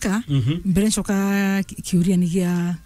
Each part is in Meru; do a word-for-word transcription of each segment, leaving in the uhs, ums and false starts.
Ka, mhm, mbere ncoka ki-, kiuria ni gia,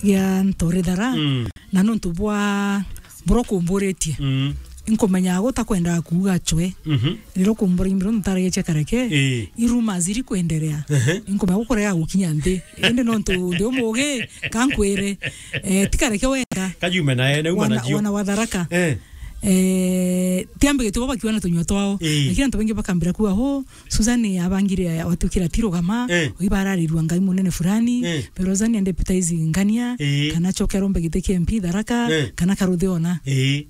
gia Ntori Thara, mm, na nontu bwa, bura ukumburitie. Mm. Nkumenyaga gutakwendaga kuuga cwe. Mhm. Riria ukumbura imbiro ntaragia cia Kareke, ii, i rumors iri kwenderea. Ehe. Nkumenya gukurega gukinya nthi. Indi nontu ndi umugi, ka nkwire, eh, ti Kareke wenka. Kajume na ene, uma wana, nacio. Wana wa Tharaka. Eh. Eh, tiambe gituba bakiwa na tunyua twao. Ii. Lakini antu baingi bakambira kuuga, "Ho, Susan abangire ya-, watwikira ti rugama, eh, oiba ararirua ngai munene fulani, eh, pero Susan ande deputize ngania, eh, kana acoke arombe giti kia M P Tharaka, eh, kana karuthi ona." Eh.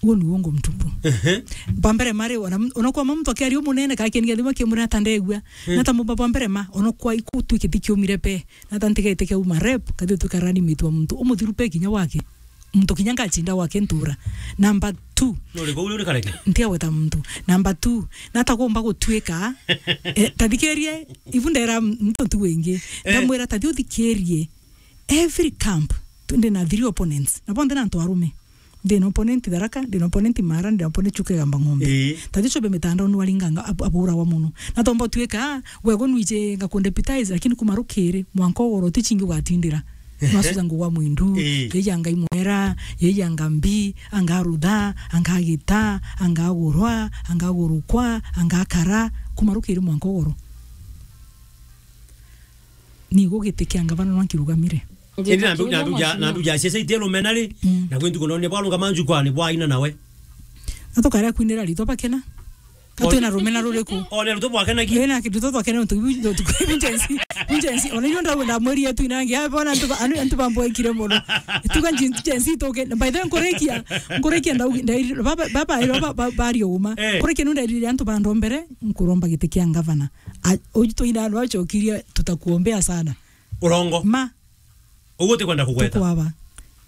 Uo ni uongo mtupu. Ehe. Bwa mbere mari, ona m-, ona kwa muntu akiaria umunene, ka kieni giathima kimuri ata ndegua. Eh. Na ta mumba bwa mbere ma, ona kwa iku tu kiti kiumire pe. Na ta ntigete kia uma rep, kathi utwika running mate wa muntu umuthiru pe kinya wake. Muntu kinya ngachinda gwake ntura. Number two. Nuri kuu uri Kareke? Ntiagweta muntu. Number two, nata gumba gutwika, eh, tathikirie, ibu ndera muntu ntu wingi. Eh. Ndamwira, "Tathi uthikirie, every camp, tu-, ndi na three opponents. Na bonthe na antu arume. Ndi na opponent Tharaka, ndi na opponent Mara, ndi na opponent Chuka Igamba Ng'ombe." Ii. Tathi ucobe mitandao ni waringanga ab-, aburagwa muno. Na tomba utwika, gwe gwe nwije ngakundepitize, lakini kuma rukiri, mwanka ugoro ti chingi ugatindira. Ehe. Nwacuja ngugwa mwindu, ii, yeija ngai mwera, yeija ngambi, anga rutha, anga gita, anga gurwa, anga gurukwa, anga kara, kuma rukiri mwanka ugoro. Nigo giti kia ngavana nwa nkirugamire. Indi na ndu, na ndu ja, na ndu ja ciaca itie rumena ri, mm, na kwi ntuku nonye bwarunga manju kwani bwaina nawe. Na tukarea kwinira ritwa bakena. Ka twina rumena ruriku? One ruto bwakenagia. Ina kindu to twakena untu ibu, untu ibu Gen Z, ibu Gen Z. Ona iyo ndau ndamwiri yetu inangi, ai bona antu ba-, anu, antu bambwekire muno. Tuga Gen, Gen Z tuke. By the way, nkurikia, nkurikia ndau, ndai-, baba, baba, baba, baba, bari uma. Eh. Nkurikia nu ndairire antu bandombere, nkuromba giti kia ngavana. A, uju twina anu acokirie, "Tutakuombea sana." Urongo. Ma. Uguo utikwenda kugweta. Tukwaba.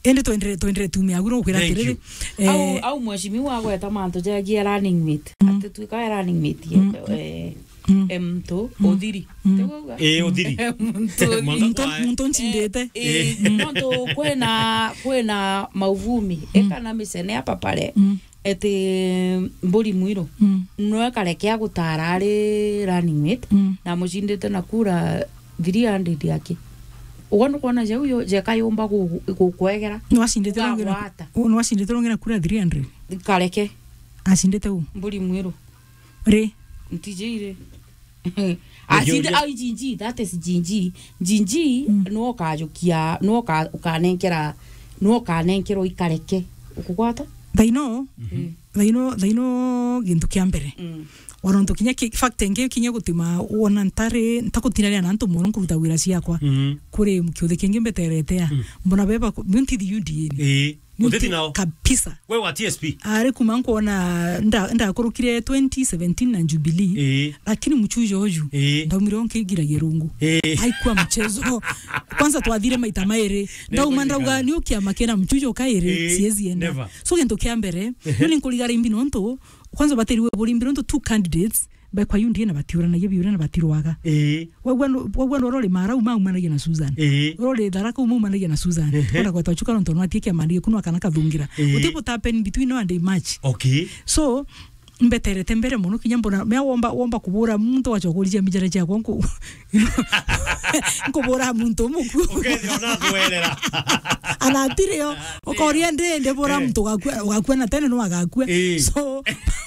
Indi twendere, twendere tumia agu no kwira. Thank atiriri, you. Eh, au, au mheshimiwa agweta mantu jagia running mate. Mm. Ati twika running mate, mm, eh, mm, eh, mtu, mm, uthiri. Mm. Tiguo uga? Eh, uthiri. Mtu uthiri. Mwanka muntu, kwae, muntu nchindite. Eh, eh, mm, nontu kwina, kwina mauvumi, mm, ekana micene apa pare. Mm. Eti Mburi Mwiru, mm, nwe Kareke agutara ari running mate, mm, na amucindite na kura three hundred aki. Ugwe nukwona jau yo, jeka yumba gu-, gu-, gukwegera? Nwacindite rungi na, gagwata. U-, nwacindite rungi na kura three hundred? Kareke. Acindite u? Mburi Mwiru. Ri? Ntiji ri. Acinde, ai, G G, that is G G. G G, mm, no kajukia, no ka-, ukanenkera, no kanenkerwa i Kareke. Ukugwata? Thaino, mm, thaino, thaino gintu kia mbere. Mm. Wona ntu kinya ki-, fact ingi kinya gutima wona ntari, ntagutinania na antu mono nkuruta wira ciakwa. Mm. Kuri kiuthi kingi mbeterete a. Mm. Mbona beba ku-, ntithi U D A ni. Ii. Uteti nao. Kabisa. We wa T S P. Ari kuma nkwona nda-, ndakurukire twenty seventeen na Jubilee. Ii. Lakini mchujo uju, ii, ndaumire nkigiragia rungu. Ii. Haikuwa mchezo. Kwanza twathire maita mairi. Ndauma ndauga, "Ni ukiama kena mchujo kairi, ii, siezi enda." Never. So gintu kia mbere, ehe, ni nkurigara imbi nontu, kwanza batiriwe buri imbi nontu two candidates, ba kwa U D A na batiuranagia biuria na batirwaga. Ii. Wagua nu-, wagua nu urori Marau maumanagia na Susan. Ii. Urori Tharaka maumanagia na Susan. Ehe. Ona gwetwa Chuka nontu nwatie kiama ndio kunwa kana kathungira. Ii. Uti butapeni between now and March. Okay. So, mbeterete mbere muno kinya mbona, mea womba, womba kubura muntu wachokorija mijara ciakwa nku-, nkubura muntu muku. Ukethira ona atwerera. Ana atirio. Ukoria ndi, ndi bura, eh, muntu ugakua, ugakua na tene no agakua. Eh. So,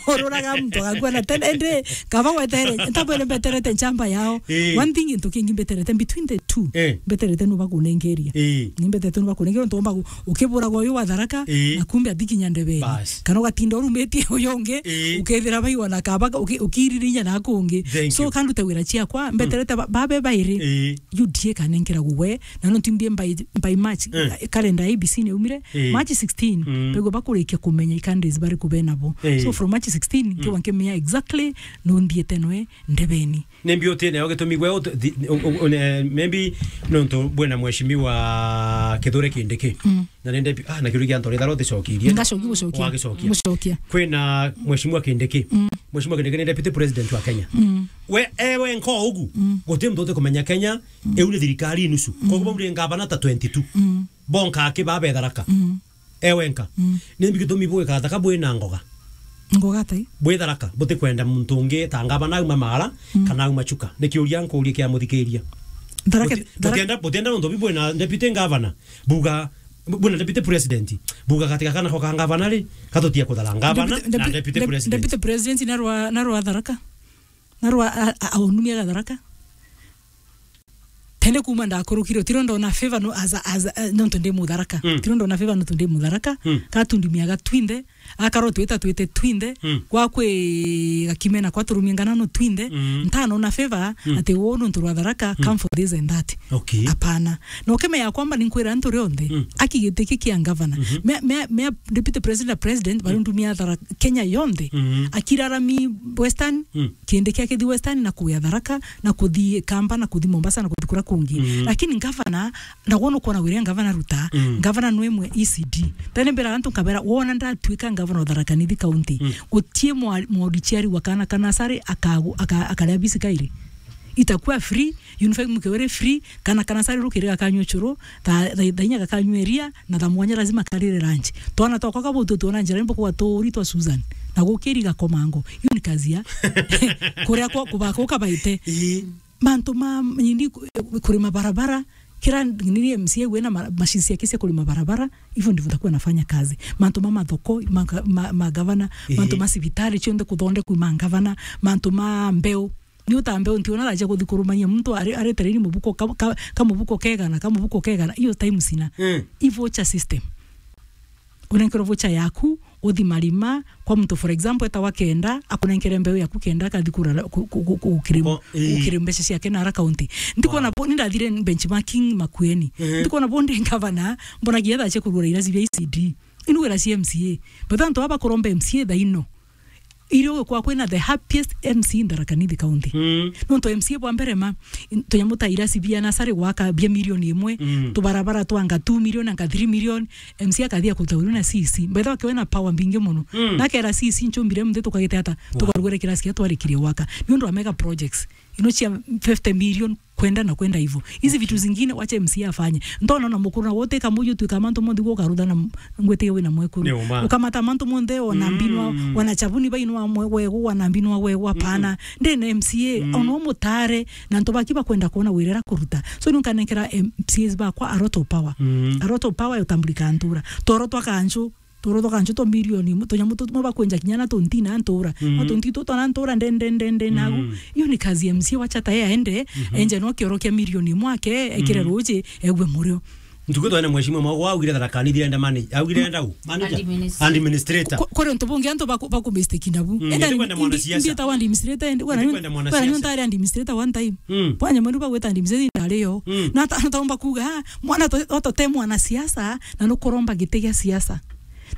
ururaga muntu agakua na tene, ndi, kaba wetere, ntabwene mbeterete nchamba yao. Eh. One thing, into kingi mbeterete between the two. Eh. Mbeterete no bakunengeria. Eh. Ni mbeterete no bakunengeria, ntu omba gu-, ukiburaga uyu wa Tharaka, eh, na kumbe atikinya ndebeni. Bas. Kana ugatinda urumitie uyu ungi, eh, ukethira baiwa na kaba uki-, ukiririnya na kungi. Thank you. So, kanduta wira ciakwa, mm, mbeterete ba-, babe bairi. Eh. U D A kanenkera gugwe, na no ntimbie by, by March, eh, calendar ya A B C ni umire, eh, March sixteen, mm, bego bakurikia kumenya i candidates bari kubenabo. Eh. So from March sixteen, mm, nkiwa nkimenya exactly no nthiete noe ndebeni. Nimbi uti nayo gitumi gwe ut-, thi-, u-, u-, une-, maybe nontu bwina mheshimiwa Kithure Kindiki. Mm. Na nende pi-, ah, na kiuria kia Ntori Thara uticokirie. Ngacokia gucokia. Wagicokia. Gucokia. Kwina mheshimiwa Kindiki. Mm. Mheshimiwa Kindiki ni deputy president wa Kenya. Mm. We, ewe nko ugu, mm, guti muntu utikumenya Kenya, mm, iu ni thirikari nusu. Mm. Koguo bau ni ngavana ta twenty-two. Mm. Bonka aki ba be Tharaka. Mm. Ewe nka. Mm. Nimbi gitumi bwika Tharaka bwina ngoga? Ngoga tai? Bwi Tharaka, butikwenda muntu ungi ta ngavana auma Mara, mm, kana auma Chuka. Ni kiuria nkuurie kia muthikiria. Tharaka, Buti-, Tharaka butienda, butienda nontu bibwina deputy governor. Buga, bwina deputy president. Buga katika kana ko ka governor ri, katutia kuthara governor Deputy, na deputy, deputy dep-, president. Deputy president na rwa, na rwa Tharaka. Na rwa, a, a, aunumia ga Tharaka. Tene kuma ndakurukire, tiro ndona favor no, as a, as a, eh, nontu ndi Mutharaka. Mm. Tiro ndona favor nontu ndi Mutharaka. Mm. Katundumia ga twinthe. Akaro twita twite twinthe, Mm. gwa kwi gakimena kwa turumia ngana no twinthe, Mm. ntano na favor, Mm. ati wo nontu rwa Tharaka, Mm. come for this and that. Okay. Apana. Na ukimenya kwamba ninkwira antu rionthe, Mm. aki giti ki kia governor. Mhm. Mea, mea, mea deputy president na president, Mm. barundumia Tharaka Kenya yonthe. Mm. Akirarami Western, Mm. kindi kia kithi Western na kuya Tharaka, na kuthi Kamba, na kuthi Mombasa, na kuthi kura kungi. Mm. Lakini governor Na wona ukwona wiria ngavana Ruta, Mm. ngavana nwe mwe E C D. Tene mbira antu nkabera, wona ndatuika ngavana wa Tharaka Nithi County, Mm. gutie mwa-, mwauri ciari wa kana kana sare akagu-, aka-, akaria bisi kairi. Itakuwa free, uniform mkiwere free, kana kana sare rukiri gakanywe churu, tha, tha, tha inya gakanywe ria, na tha mwanya lazima karire lunch. Twana twakwa kabutu tuona njira imbo kwa turi twa Susan. Na gukiri gakomango. Hiyo ni kazi ya. Kuria kwa kubaka ukabaite. Ii. Mantu ma, nini, ku-, kurima barabara, kira nini M C A wina ma-, machine ciake cia kurima barabara, hivyo ndivyo nitakuwa nafanya kazi. Mantu ma mathoko, ma, ma, ma gavana, Ehe. mantu ma cibitari cionthe kuthondekwa ma gavana, mantu ma mbeu. Ni uta mbeu ntiona raja kuthi kurumania muntu ari, ari tereni mubuko ka, ka, ka mubuko kegana, ka mubuko kegana, iyo time sina. Mm. I voucher system. Unenkerwa voucher yaku, uthi marima, kwa muntu, for example, eta wa kenda, akunenkere mbeu yaku kenda, akathi kurara, ku-, ku-, ku-, ku-, ukiri-, Ko-, ii. ukiri mbeca ciake na ara county. Ndikwona Wow. bo, nindathire benchmarking Makueni. Ehe. Ndikwona bo ndi ngavana, mbonagia thaa cia kurugura irasi bia E C D. Inu wira cia M C A. But antu aba kuromba M C A thaa ino. Irio gukwa kwina the happiest M C in Tharaka Nithi County. Mm. Nontu M C A bwa mbere ma, in-, tunyamu ta irasi bia nasari gwaka bia milioni imwe, Mm. tubarabara twanga two million anga three million, M C A akathia kuruta wiru na C C. By the way, akiwe na power mbingi muno. Mm. Na akera C C, "Nchumbire muthe tukagite ata, Wow. tukarugure kirasi kia twarikirie gwaka." Ni undu wa mega projects. Ino cia fifty million kwenda na kwenda hivyo. Hizi Okay. vitu zingine wacha M C A afanye. Ntona na mukuru na wote kamuju tu kama ntu muthi gukarutha na m-, ngwete wina mwekuru. Ni uma. Ukamata mantu monthe wana Mm. mbinwa, wana chabuni bainwa mwe-, wegu, wana mbinwa wegu, hapana. Mm-mm. Ndi na M C A, Mm. ono mutare, na antu baki bakwenda kuona wirera kuruta. So, nunkanenkera M C As bakwa a lot of power. Mm. A lot of power ya utambulika ntura. Toro twa kanju, toro twa kanju twa milioni, mu-, tunyamu tu-, mo bakwenja kinya na tuntina ntura. Mm. No tunti tu twana ntura nde, nde, nde, nde, nagu. Mm. Iyo ni kazi ya M C A wacha ta ye aende, Mhm. enje no kioro kia milioni mwake, ekire Mm. ruji, egwe murio. Ntuku twene mheshimiwa mwa augire Tharaka Nithi irenda manage, augire irenda u, manager? Administrator. Administrator. Ku-, kuri untu bungi antu baku-, baku mistake nabu. Mm, enda ndikwenda ndi-, mwanasiasa. Ndi-, ndietawa administrator, ndi-, wana Ndikwenda nyu-, wana mwanasiasa. Nyu ntari administrator one time. Mm. Bwanya mweru bagweta administrator ndari yo. Mm. Na ta-, na taumba kuga, "Ah, mwana to-, oto te mwanasiasa, na nukuromba giti gia siasa.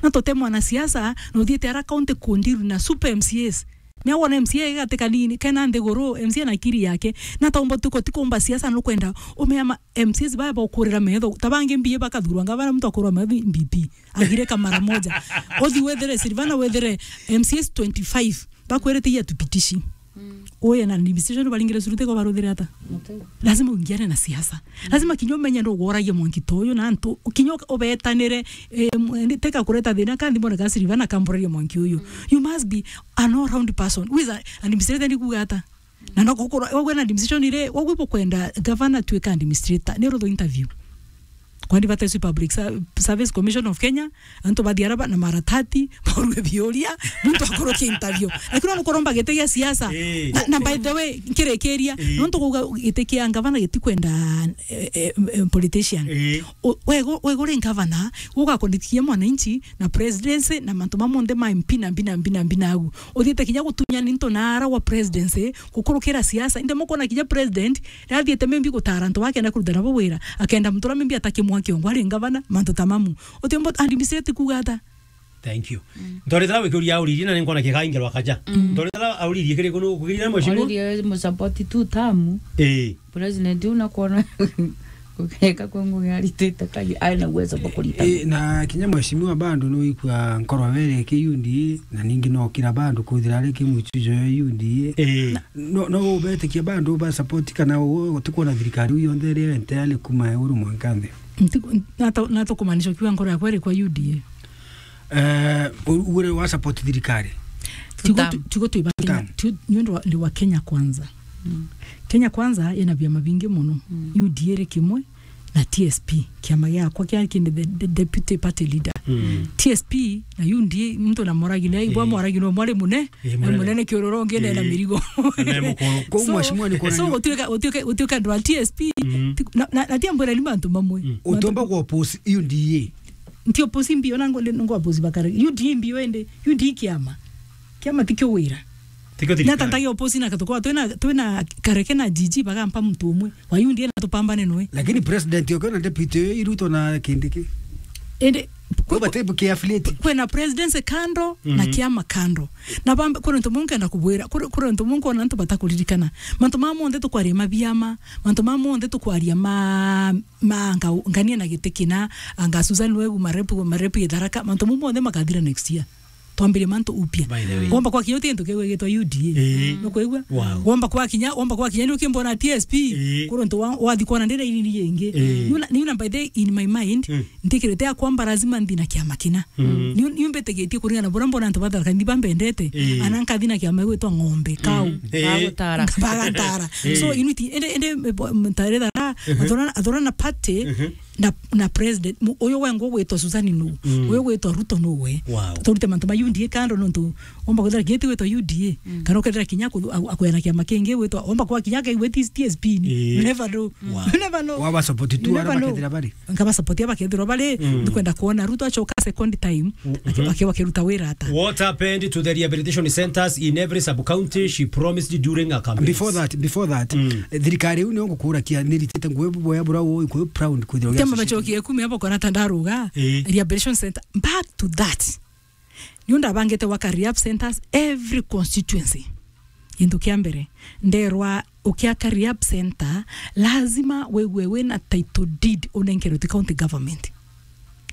Na to te mwanasiasa, na uthiete ara county kundiru na super M C As." Ni awona M C A gati kanini, kena nthiguru, M C A na akiri yake. Na taumba tuko tikumba siasa nukwenda, umeama M C As baya bokurira metho, ta bangi mbie bakathurwa ngavana muntu akurwa metho M P P. Agireka mara moja. Uthi wethere Silvana, wethere M C As twenty-five. Bakwirite iya tupitishi. Mm. Uye na administration baringire surute ko baruthire ata? Mutu. Lazima uingiane na siasa. Lazima kinya umenye ndo gworagia mwanki ta uyu na antu, kinya ubetanire, eh, m-, ndi teka kureta thina ka nthimone ka Silvana kamboragia mwanki uyu. Mm. You must be an all round person. Who is a-, administrator ni kuga ata? Na no gukura, wagwe na administration ire, wagwe bukwenda governor tuika administrator, ni rutho interview. Kwani bata isu Public Ser-, Service Commission of Kenya, antu bathi araba na maratati, baurwe biuria, muntu akurukia interview. Lakini no kuromba giti gia siasa. Eh. Na, na by the way, nkirikiria, Eh. nontu kuga giti kia ngavana gitikwenda, eh, eh, eh, politician. Eh. O-, wego, wego ri ngavana, ugakondikia mwananchi na presidency na mantu ma monthe ma M P na mbi na mbi na mbi na agu. Uthiite kinya gutunya ninto na ara wa presidency, gukurukira siasa. Inde mukona kinya president, riria athiite maybe gutara antu bakenda kuruta nabo wira, akenda muntu uria maybe atakimwa kiongo ari ngavana, mantu ta mamu. Utiumba administrator kuga ata? Thank you. Mm. Ntorethera wikiuria auririe na ninkona kikaingerwa kaja. Mm. Ntorethera auririe kiri kunu kugirira mheshimiwa? Auririe musapoti tu tamu. Eh. President unakuona kugeka kwa ngugi aritite kai, ai na uwezo bwa kurita. Eh, na kinya mheshimiwa bado no ikua nkoro were ki U D A, na ningi no kira bado kuthira ari ki mwichujo ya U D A. Eh. No, no ubetikia bado ba support kana u-, utikuona thirikari u yonthe iri entirely kuma iguru mwanka nthi? Ntiku-, nato-, natukumaanisha ukiuga nkoro yakwa iri kwa U D A. Eh, u-, ugure wa support thirikari? Tigo tu-, Tutam. tigo twi ba Kenya, Tutam. tu-, ni undu wa, ni wa Kenya Kwanza. Kenya Kwanza ina biama bingi mono. U D A ri kimwe na T S P, kiama giakwa kia kindi the, the deputy party leader. T S P na U D A, muntu na moragine, ibwa moragine, mwari mune, eh, na munene kiururu ungi na mirigo. Na mukuru. Kou so, mheshimiwa ni kuona so ni gutuika, gutuika, gutuika andu a T S P, ti-, na, na, na tiambwira ni mantu mamwe. Utomba ku oppose U D A. Nti oppose mbio na ngo, ngo oppose bakare. U D A mbio ende, U D A kiama. Kiama ti kio wira. Tikio thirikari. Nata ntage oppose na katuko, twina, twina Kareke na G G bagampa muntu umwe. Wa U D A na tupambane noe. Lakini president okio na deputy oyo i Ruto na Kindiki. Ende, kwe-, kwe-, bate buke affiliate. Kwina presidency kando na kiama kando. Na bambe, kuri ntu mungu enda kubwira, kuri, kuri ntu mungu ona ntu batakuririkana. Mantu ma monthe tukwaria ma biama, mantu ma monthe tukwaria ma, ma nga-, ngania na giti kina, anga Susan Wegu, marepu, marepu itharaka, mantu mau monthe makathira next year. Twambirie mantu upya. By the way. Womba kwa kinya uti gintu kiu gigitwa U D A. Ii. Nukwigua? Wow. Womba kwa kinya, womba kwa kinya ni ukimbona T S P. Ii. Kuru ntu wa, wathi kwona ndira iriri ingi. Ii. Niuna, niuna by the, in my mind, ntikirite ya kwamba lazima nthi na kiama kina. Niu, niu mbitigitie kuringana na buria mbona antu batharaka nthi bambendete. Ii. Ana nkathi na kiama gwitwa ng'ombe, kau. Ii. Bagutara. Bagatara. Ii. So, initi, ende, ende, mtarethara, athurana, athurana party, na, na president, mu-, uyu wengwa ugwitwa Susan nu, uyu ugwitwa Ruto nu we. Wow. Turute mantu ma U D A kando nontu omba kwithira kinya ti gwitwa U D A, kana ukethira kinya aku-, aku-, akwena kiama kingi gwitwa, omba kwa kinya akaigua ti T S P ni. Ii. You never know. Wow. You never know. Waba support tu, you never know. Bakethira bari. Nkaba support ya bakethirwa bari, ndikwenda kuona Ruto acoka second time, aki-, aki-, akiruta wira ata. What happened to the rehabilitation centers in every sub-county she promised during her campaigns? Before that, before that, eh, thirikari iu nio ngukurakia, niritite nguo boya bura ui, kwi proud kwithirwa. Tiamba macokie kumi abo kona ta ndaruga, eh, rehabilitation center. Back to that. Niu ndabangite gwaka rehab centers every constituency. Gintu kia mbere, nderwa ukiaka rehab center, lazima wigwe wina title deed unenkerwe ti county government.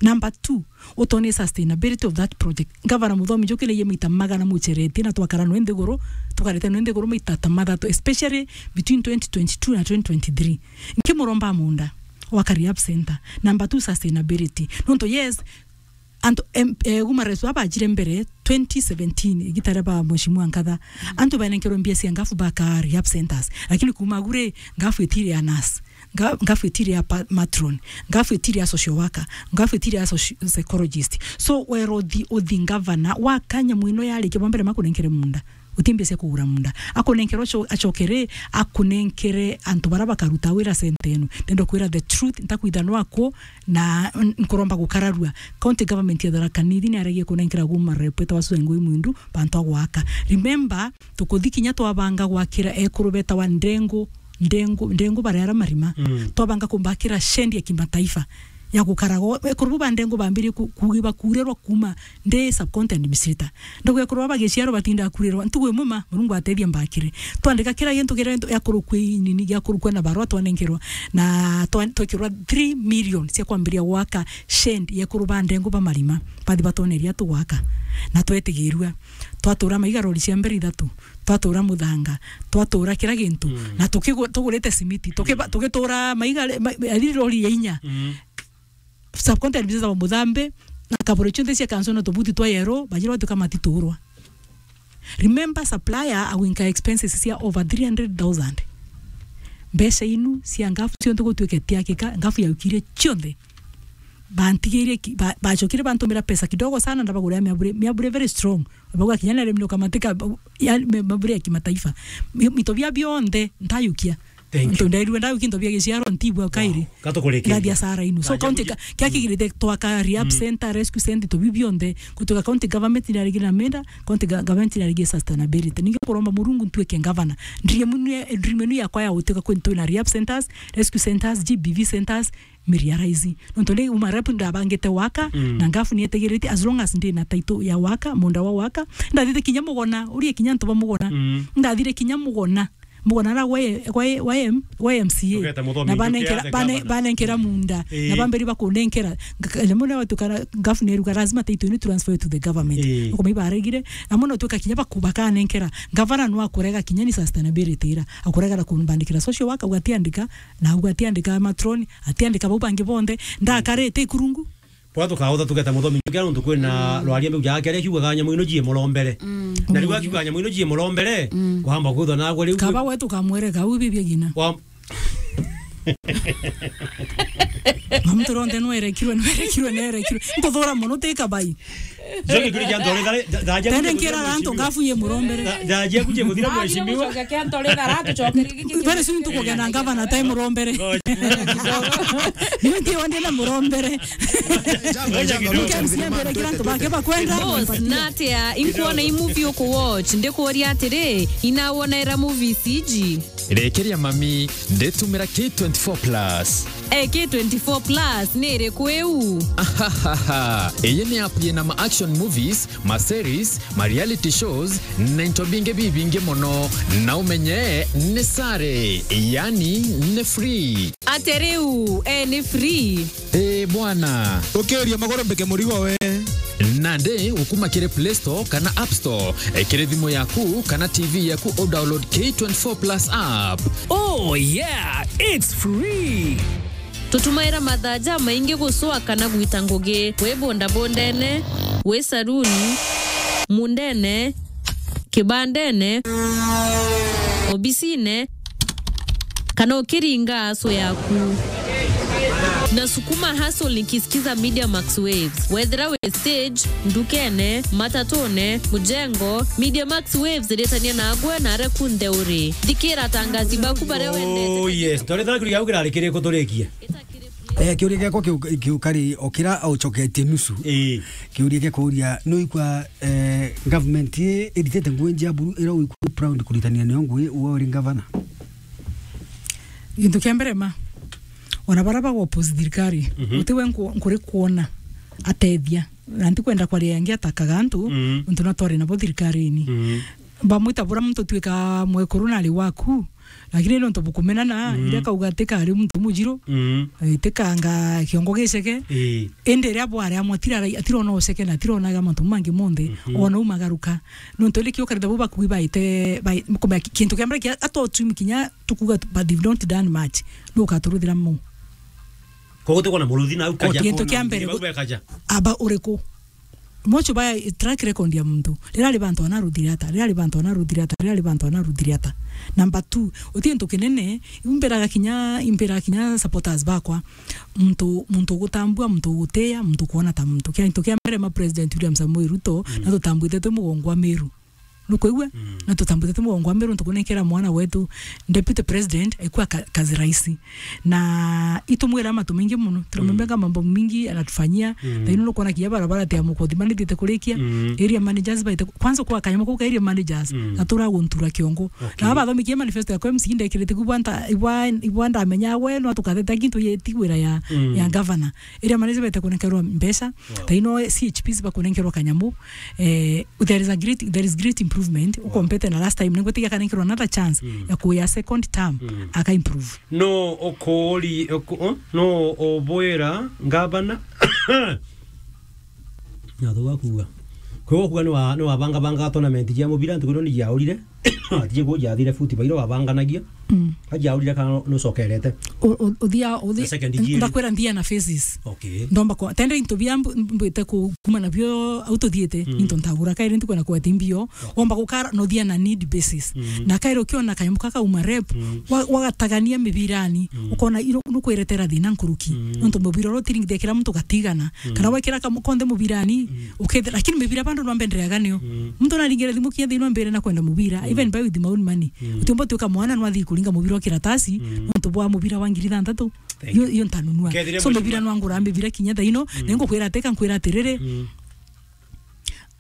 Number two, utone sustainability of that project. Gavana Muthomi njukire ye maita magana muceretie na twakara nwe nthiguru, tukarete nwe nthiguru maita ta mathatu, especially between twenty twenty-two na twenty twenty-three. Nkimuromba munda wa ka rehab center. Number two, sustainability. Nontu yes, antu, em, eh, Human Rights baba bajire mbere twenty seventeen, igita ria ba Mheshimiwa Nkatha. Antu banenkerwe mbia cia ngafu baka rehab centers. Lakini kuma gure ngafu itire ya nurse. Nga-, ngafu itiri ya pa-, matron, ngafu itiri ya social worker, ngafu itiri ya soci-, psychologist. So, wero uthi, uthi ngavana, wakanya mwino yarikia bwa mbere makunenkere munda. Uti mbia cia kugura munda. Akunenkere uco-, acokere, akunenkere antu bara bakaruta wira center enu. Ndenda kwira the truth, ntakwitha nwako, na n-, nkuromba gukararua. County government ya Tharaka Nithi ni aragia kunenkera guma rep eta wa Susan Ngui Mwindu, bantu a gwaka. Remember, tukuthi kinya twabanga gwakira ekuru betawa Ndengu, Ndengu, Ndengu bareara marima. Mm. Twabanga kumbakira shed ya kimataifa ya gukaraga. Ekuru bu ba Ndengu bambirie ku-, kugi-, bakurirwa kuma ndi sub-county administrator. Ndogo ekuru baba giciaro batinda kurirwa. Ntugu imwe ma, Murungu atethia mbakire. Twandika kira gintu, kira gintu, ya kurukwi nini, ya kurukwa na barua twanenkerwa. Na twa-, twekirwa three million cia kwambiria gwaka shed ya ekuru ba Ndengu ba marima. Bathi batwoneria tugwaka. Na twetigirua. Twatura maiga rori cia mbere ithatu. Twatura muthanga, twatura kira gintu, mm, na tukigu-, tugurite simiti, tukiba-, mm, tugitura maiga, ma-, ari lori ya inya. Mm. Subcontinent business wa Muthambi, na kaburi cionthe cia kanso na tubuti twa yero, bajira batuka matiturwa. Remember, supplier agwinka expenses cia over three hundred thousand. Mbeca inu cia ngafu cionthe gutuike tiakika, ngafu yaukirie cionthe. Bantigirie ki-, ba-, bacokire bantumira pesa kidogo sana, ndabagurira miabure, miabure very strong. Bauga kinya nere mino kamatika, ba-, ya, me-, mabure ya kimataifa. Mi-, mito bia bionthe, ntayukia. Thank you. Nto ndairue ndayukia into bia giciaro, ntibua kairi. Wow. Gatukurekeria. Ndathia sara inu. So, na county jambo ka-, kia kigirite twaka rehab center, rescue center, to bi bionthe. Kutoka county government ni arigire na menda, county ga-, government ni arigire sustainability. Ningi kuromba Murungu ntuike governor. Dream inu ya, dream inu yakwa ya gutuika kwintu na rehab centers, rescue centers, G B V centers, miriaraizi. Nontu ndi uma rep ndabangite waka, mm, na ngafu nietegirite, as long as ndi na title ya waka, munda wa waka. Ndathire kinya Mugona, urie kinya antu ba Mugona. Mm. Ndathire kinya Mugona. Mugona na gwa, gwa, gwa M-, gwa M C A. Ugeta Muthomi. Na banenkera, njukia the bane-, governor, banenkera munda. Eh. Na bamberi bakunenkera. Nga-, ka-, lemuna watu kana ngafu neruga lazima title ni transfer to the government. Eh. Uko mai baregire. Na muna tuka kinya baku-, bakanenkera. Gavana no akurega kinya ni sustainability ira. Akurega na kumbandikira social worker, ugatiandika, na ugatiandika matron, atiandika bau bangi bonthe, ndakarite ikurungu. Kwa tukaotha tugeta muthomi njukia nontu kwina rwaria mbeu jake aria kiugaga nyamu ino jie murombere. Mm. Na riu akiuga nyamu ino jie murombere, mm, kwamba kwithwa nagwe riu. Kaba we tukamwereka u bibia gina. Wa- Muntu ronthe nwerekirwe, nwerekirwe, nerekirwe. Nkuthura mono ti kabai. Jogi kuri jantu ore dare, da, da, Tende nkira rantu ngafu ye murombere. Da, da, jia kuje muthira mheshimiwa. Very soon tukugena ngavana tai murombere. Ndio ndio ndina murombere. Mke msiambere kila mtu bake bakwenda. Boss, natia, inkuona i movie uku watch, ndikuuria atiri, inawona era movie C G? Rekeria mami, nditumira K twenty-four plus. Eh, K twenty-four plus ni iriku iu? Ahahaha. Iyi ni app yina ma action movies, ma series, ma reality shows, na into bingi bibingi mono. Na umenye ni sare, yani ni free. Ate riu, eh, ni free? Ii bwana. Ukiuria magoro mbike murigo we. Nandi ukuma kiri Play Store kana App Store, eh, kiri thimu yaku kana T V yaku u download K twenty-four plus app. Oh yeah, it's free. Tutumaira mathaa jamaingi gucwa kana gwita ngugi, wi bondabondene, wi saruni, mundene, kibandene, obisine, kana ukiringa aso yaku. Nasukuma hustle nikisikiza Media Max Waves. Wethira wi stage, ndukene, matatune, mujengo, Media Max Waves iritania nagwe na aria kunthe uri. Thikira atangazi baku baria wendete. Oh yes, ndorethera kuri gau kirari kiri kuturikie. Eh, kiuria giakwa kiu-, kiukari o kira aucoketie nusu. Ii. Kiuria gia kuuria, nuikwa, eh, government ii iritite ngugi njia buru iria uikwa proud kuritania nio ngugi uwe uri governor? Gintu kia mbere ma, ona baria bagoppose thirikari, mhm, uti we nku-, nkuri kuona atethia. Na ntikwenda kwaria ngiatakaga antu, mhm, untu na twari nabo thirikarini. Mhm. Bamwita bura muntu twika mwekuru nari waku, lakini nontu bukumenana, mm, iria kauga tika ari muntu mujiru, mm, eh, tikanga kiongo giceke. Ii. Indi iria bwari amwe atira-, atirona uceke na atironaga mantu mangi monthe, mhm, ona umagaruka. Nontu indi kiukarita bu bakui baite, bai-, kumenya ki-, kintu kia mbere kia, atochumi kinya tukuga tu-, but they've not done much. Nu ukaturuthira mu. Koguo tukwona muruthi nau kaja. Kintu kia mbere, bau bekaja. Aba uriku? Mocho ba track record ya muntu. Rira ri bantu ana ruthire ata, rira ri bantu ana ruthire ata, rira ri bantu ana ruthire ata. Number two, uti gintu kinene, iu mbiraga kinya, imbiraga kinya supporters bakwa. Muntu, muntu gutambua, muntu gutia, muntu kuona ta muntu. Kia, gintu kia mbere ma President William Samoei Ruto, mm, na tutambwite twi mugongo wa Meru. Nukwigua? Mm. Na tutambutite mugongo wa Meru, ntukunenkera mwana wetu Deputy President, aikua ka-, kazi rahisi. Na itumwira matu maingi muno. Tunamwambia, mm, mambo mingi anatufanyia. Mm. Thaino nukwona kinya barabara tia mukothi manitite kurikia. Mm. Area managers baite, kwanza kwa kanyama kau ka area managers, mm, na turaguntura kiongo. Okay. Na bathomikie manifesto yakwa M C ndekirite kubwa nta, ibwa, ibwa ndamenya we, no tukatheta kintu yeti wira ya, mm, ya governor. Area managers baite kunenkerwa mbeca. Wow. Thaino C H Ps bakunenkerwa kanyamu. Eh, there is a great, there is great improvement. Wow. Ukompete na last time, ningwitigia kana nkirwa another chance, mm, ya kuya second term, mm, aka improve. No ukuri, uku-, uh, no ubwira ngavana. Na thuga kuga. Kwi gukuga ni wa, ni wabanga banga tournament jia mubira, ntuku ino ni jiaurire. Atije kuja athire futi bairo wabanganagia. Mm. Aja aurire kana nucokerete. U-, u-, uthia, uthi-, the second gear. Ndakwira nthia na phases. Okay. Ndomba kwa, tende into bia mbu-, mbwite ku-, kuma nabio au tuthiite, mm, into ntagura kairi ntikwenda kwete mbio. Okay. Womba gukara, no thia na need basis. Mm. Na kairi ukiona kanyamu kaka uma rep, mm, wa-, wagatagania mibirani, mm, ukona iro, nukwiretera thina nkuruki. Mm. Nontu mubira uria utiringithia kira muntu gatigana. Mm. Kana wekira kamu-, konthe mubirani, mm, ukethira, lakini mibira bando no mbendereaga nio. Mm. Muntu naringire thimu kia thina mbere na kwenda mubira, mm, even buy with my own money. Mm. Utiumba tuika mwana no athi kuringa mubira wa kiratasi, mm, nontu bwa mubira wa ngiri thantatu. Thank you. Yo, yo ntanunua. Kethire. So, mheshimiwa, mibira no ngura mibira kinya thaino, mm, na ngukwira ateka, nkwira atiriri, mm,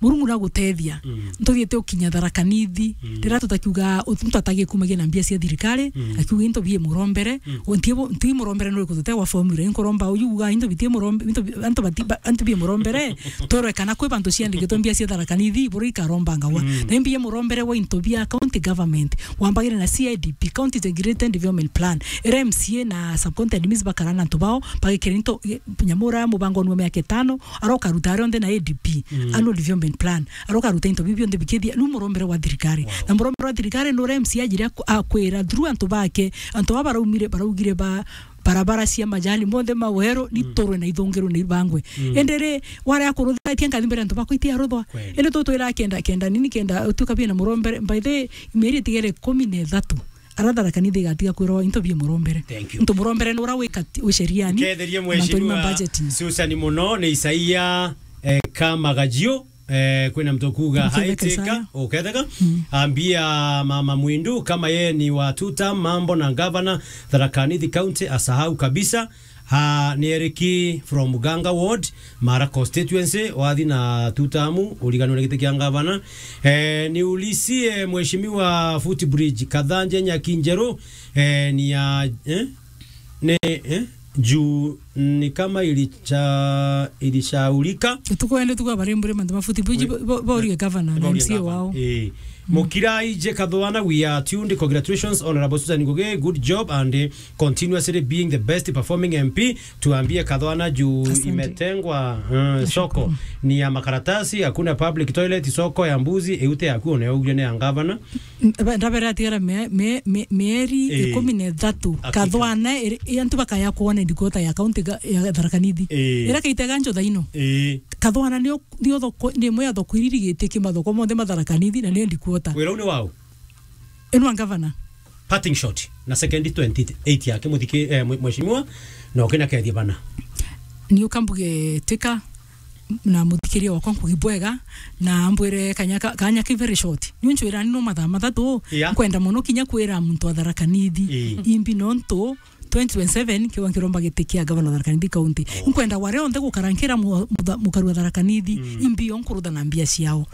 Murungu nagutethia. Mm. Ntuthiite ukinya Tharaka Nithi. Mm. Rira tutakiuga, ut-, muntu atagi kumagia na mbia cia thirikari, mm, akiuga into bie murombere, mm, o ntie bo-, nti murombere nuri kutute wa formula, nkuromba uyu uga into bitie murombe, into bi-, antu bati-, ba-, antu bie murombere, torwe kana kwi bantu ciandikitwe mbia cia Tharaka Nithi, buru ikaromba ngawa. Mm. Na mbia murombere wa into bia county government, wambagire na C I D P, County Integrated Development Plan, iria M C A na sub-county admins bakara na antu bao, bagikira into, i-, nyamura mubango ni wa miaka itano, arokaruta aria onthe na A D P, mm, annual development plan, arokaruta into biu bionthe bikithia, nu murombere wa thirikari. Wow. Na murombere wa thirikari nuria M C A ajire aku-, akwira through antu bake, antu aba baraumire, baraugire ba, barabara cia majani, monthe maweru, niturwe na ithungirwe na ibangwe. Indi ri, warea kuruthira, itia nkathi mbere antu bakwa itia ruthwa. Kweli. Indi tutwira kenda, kenda nini, kenda utuika bina murombere. By the way, mieri itigere ikumi na ithatu. Ara Tharaka Nithi igatiga kwirwa into bie murombere. Thank you. Into murombere ni ura wika ti-, wi sheriani. Nketherie mantu ni ma Mheshimiwa budgeting. Susan muno, ni Isaia, eh, Kamagajio. Eh, kwina mtu kuga, "Hi, Isaya." Uketheka? Ambia Mama Mwindu kama yeye ni wa two term, mambo na governor, Tharaka Nithi County asahau kabisa. Ha, ni Eriki from Ganga Ward, Mara constituency, wathi na two term, uriganwe na giti kia governor. Eh, niulizie Mheshimiwa Footbridge, Kathanje Nyakinjeru, eh, ni ya, eh? Ni, eh? Juu ni kama ilicha-, ilishaurika. Tukwende tukwa bari mbure mantu ma Footbridge, bo-, bo-, borie governor na M C A wao. Eh. Mukiraije Kathwana, we are tuned. Congratulations, Honorable Susan Ngugi. Good job and, eh, continuously being the best performing M P. Tuambie Kathwana juu imetengwa, eh, soko ni ya makaratasi, hakuna public toilet, soko ya mbuzi, iute yaku uneugire ni ya governor. N-, ba-, ndabere atigara mie-, mie-, mie-, mieri ikumi na ithatu. Kathwana iri, i antu bakaya kuona ndikuota ya county ga-, ya Tharaka Nithi. Ira kaitega njo thaino. Kathwana ni o-, ni othoko-, ni imwe ya thoko iria irigite ki mathoko monthe ma Tharaka Nithi na ni ndikuota. Wira uu ni wau? Ino wa governor. Parting shot na second twenty-eight yake muthiki-, eh, mwe-, mheshimiwa, na ukina kethia bana. Ni ukambuge tika na muthikiria wakwa Ngugi bwega, na ambwire kanya ka-, kanya ki very short. Ni unchwira ni no mathaa mathatu, nkwenda muno kinya kwira muntu wa Tharaka Nithi. Imbi nontu twenty twenty-seven kiwa nkiromba giti kia governor Tharaka Nithi County. Nkwenda ware onthe gukara nkira mu-, mutha-, mukaru wa Tharaka Nithi, imbi yo nkurutha na mbia ciao.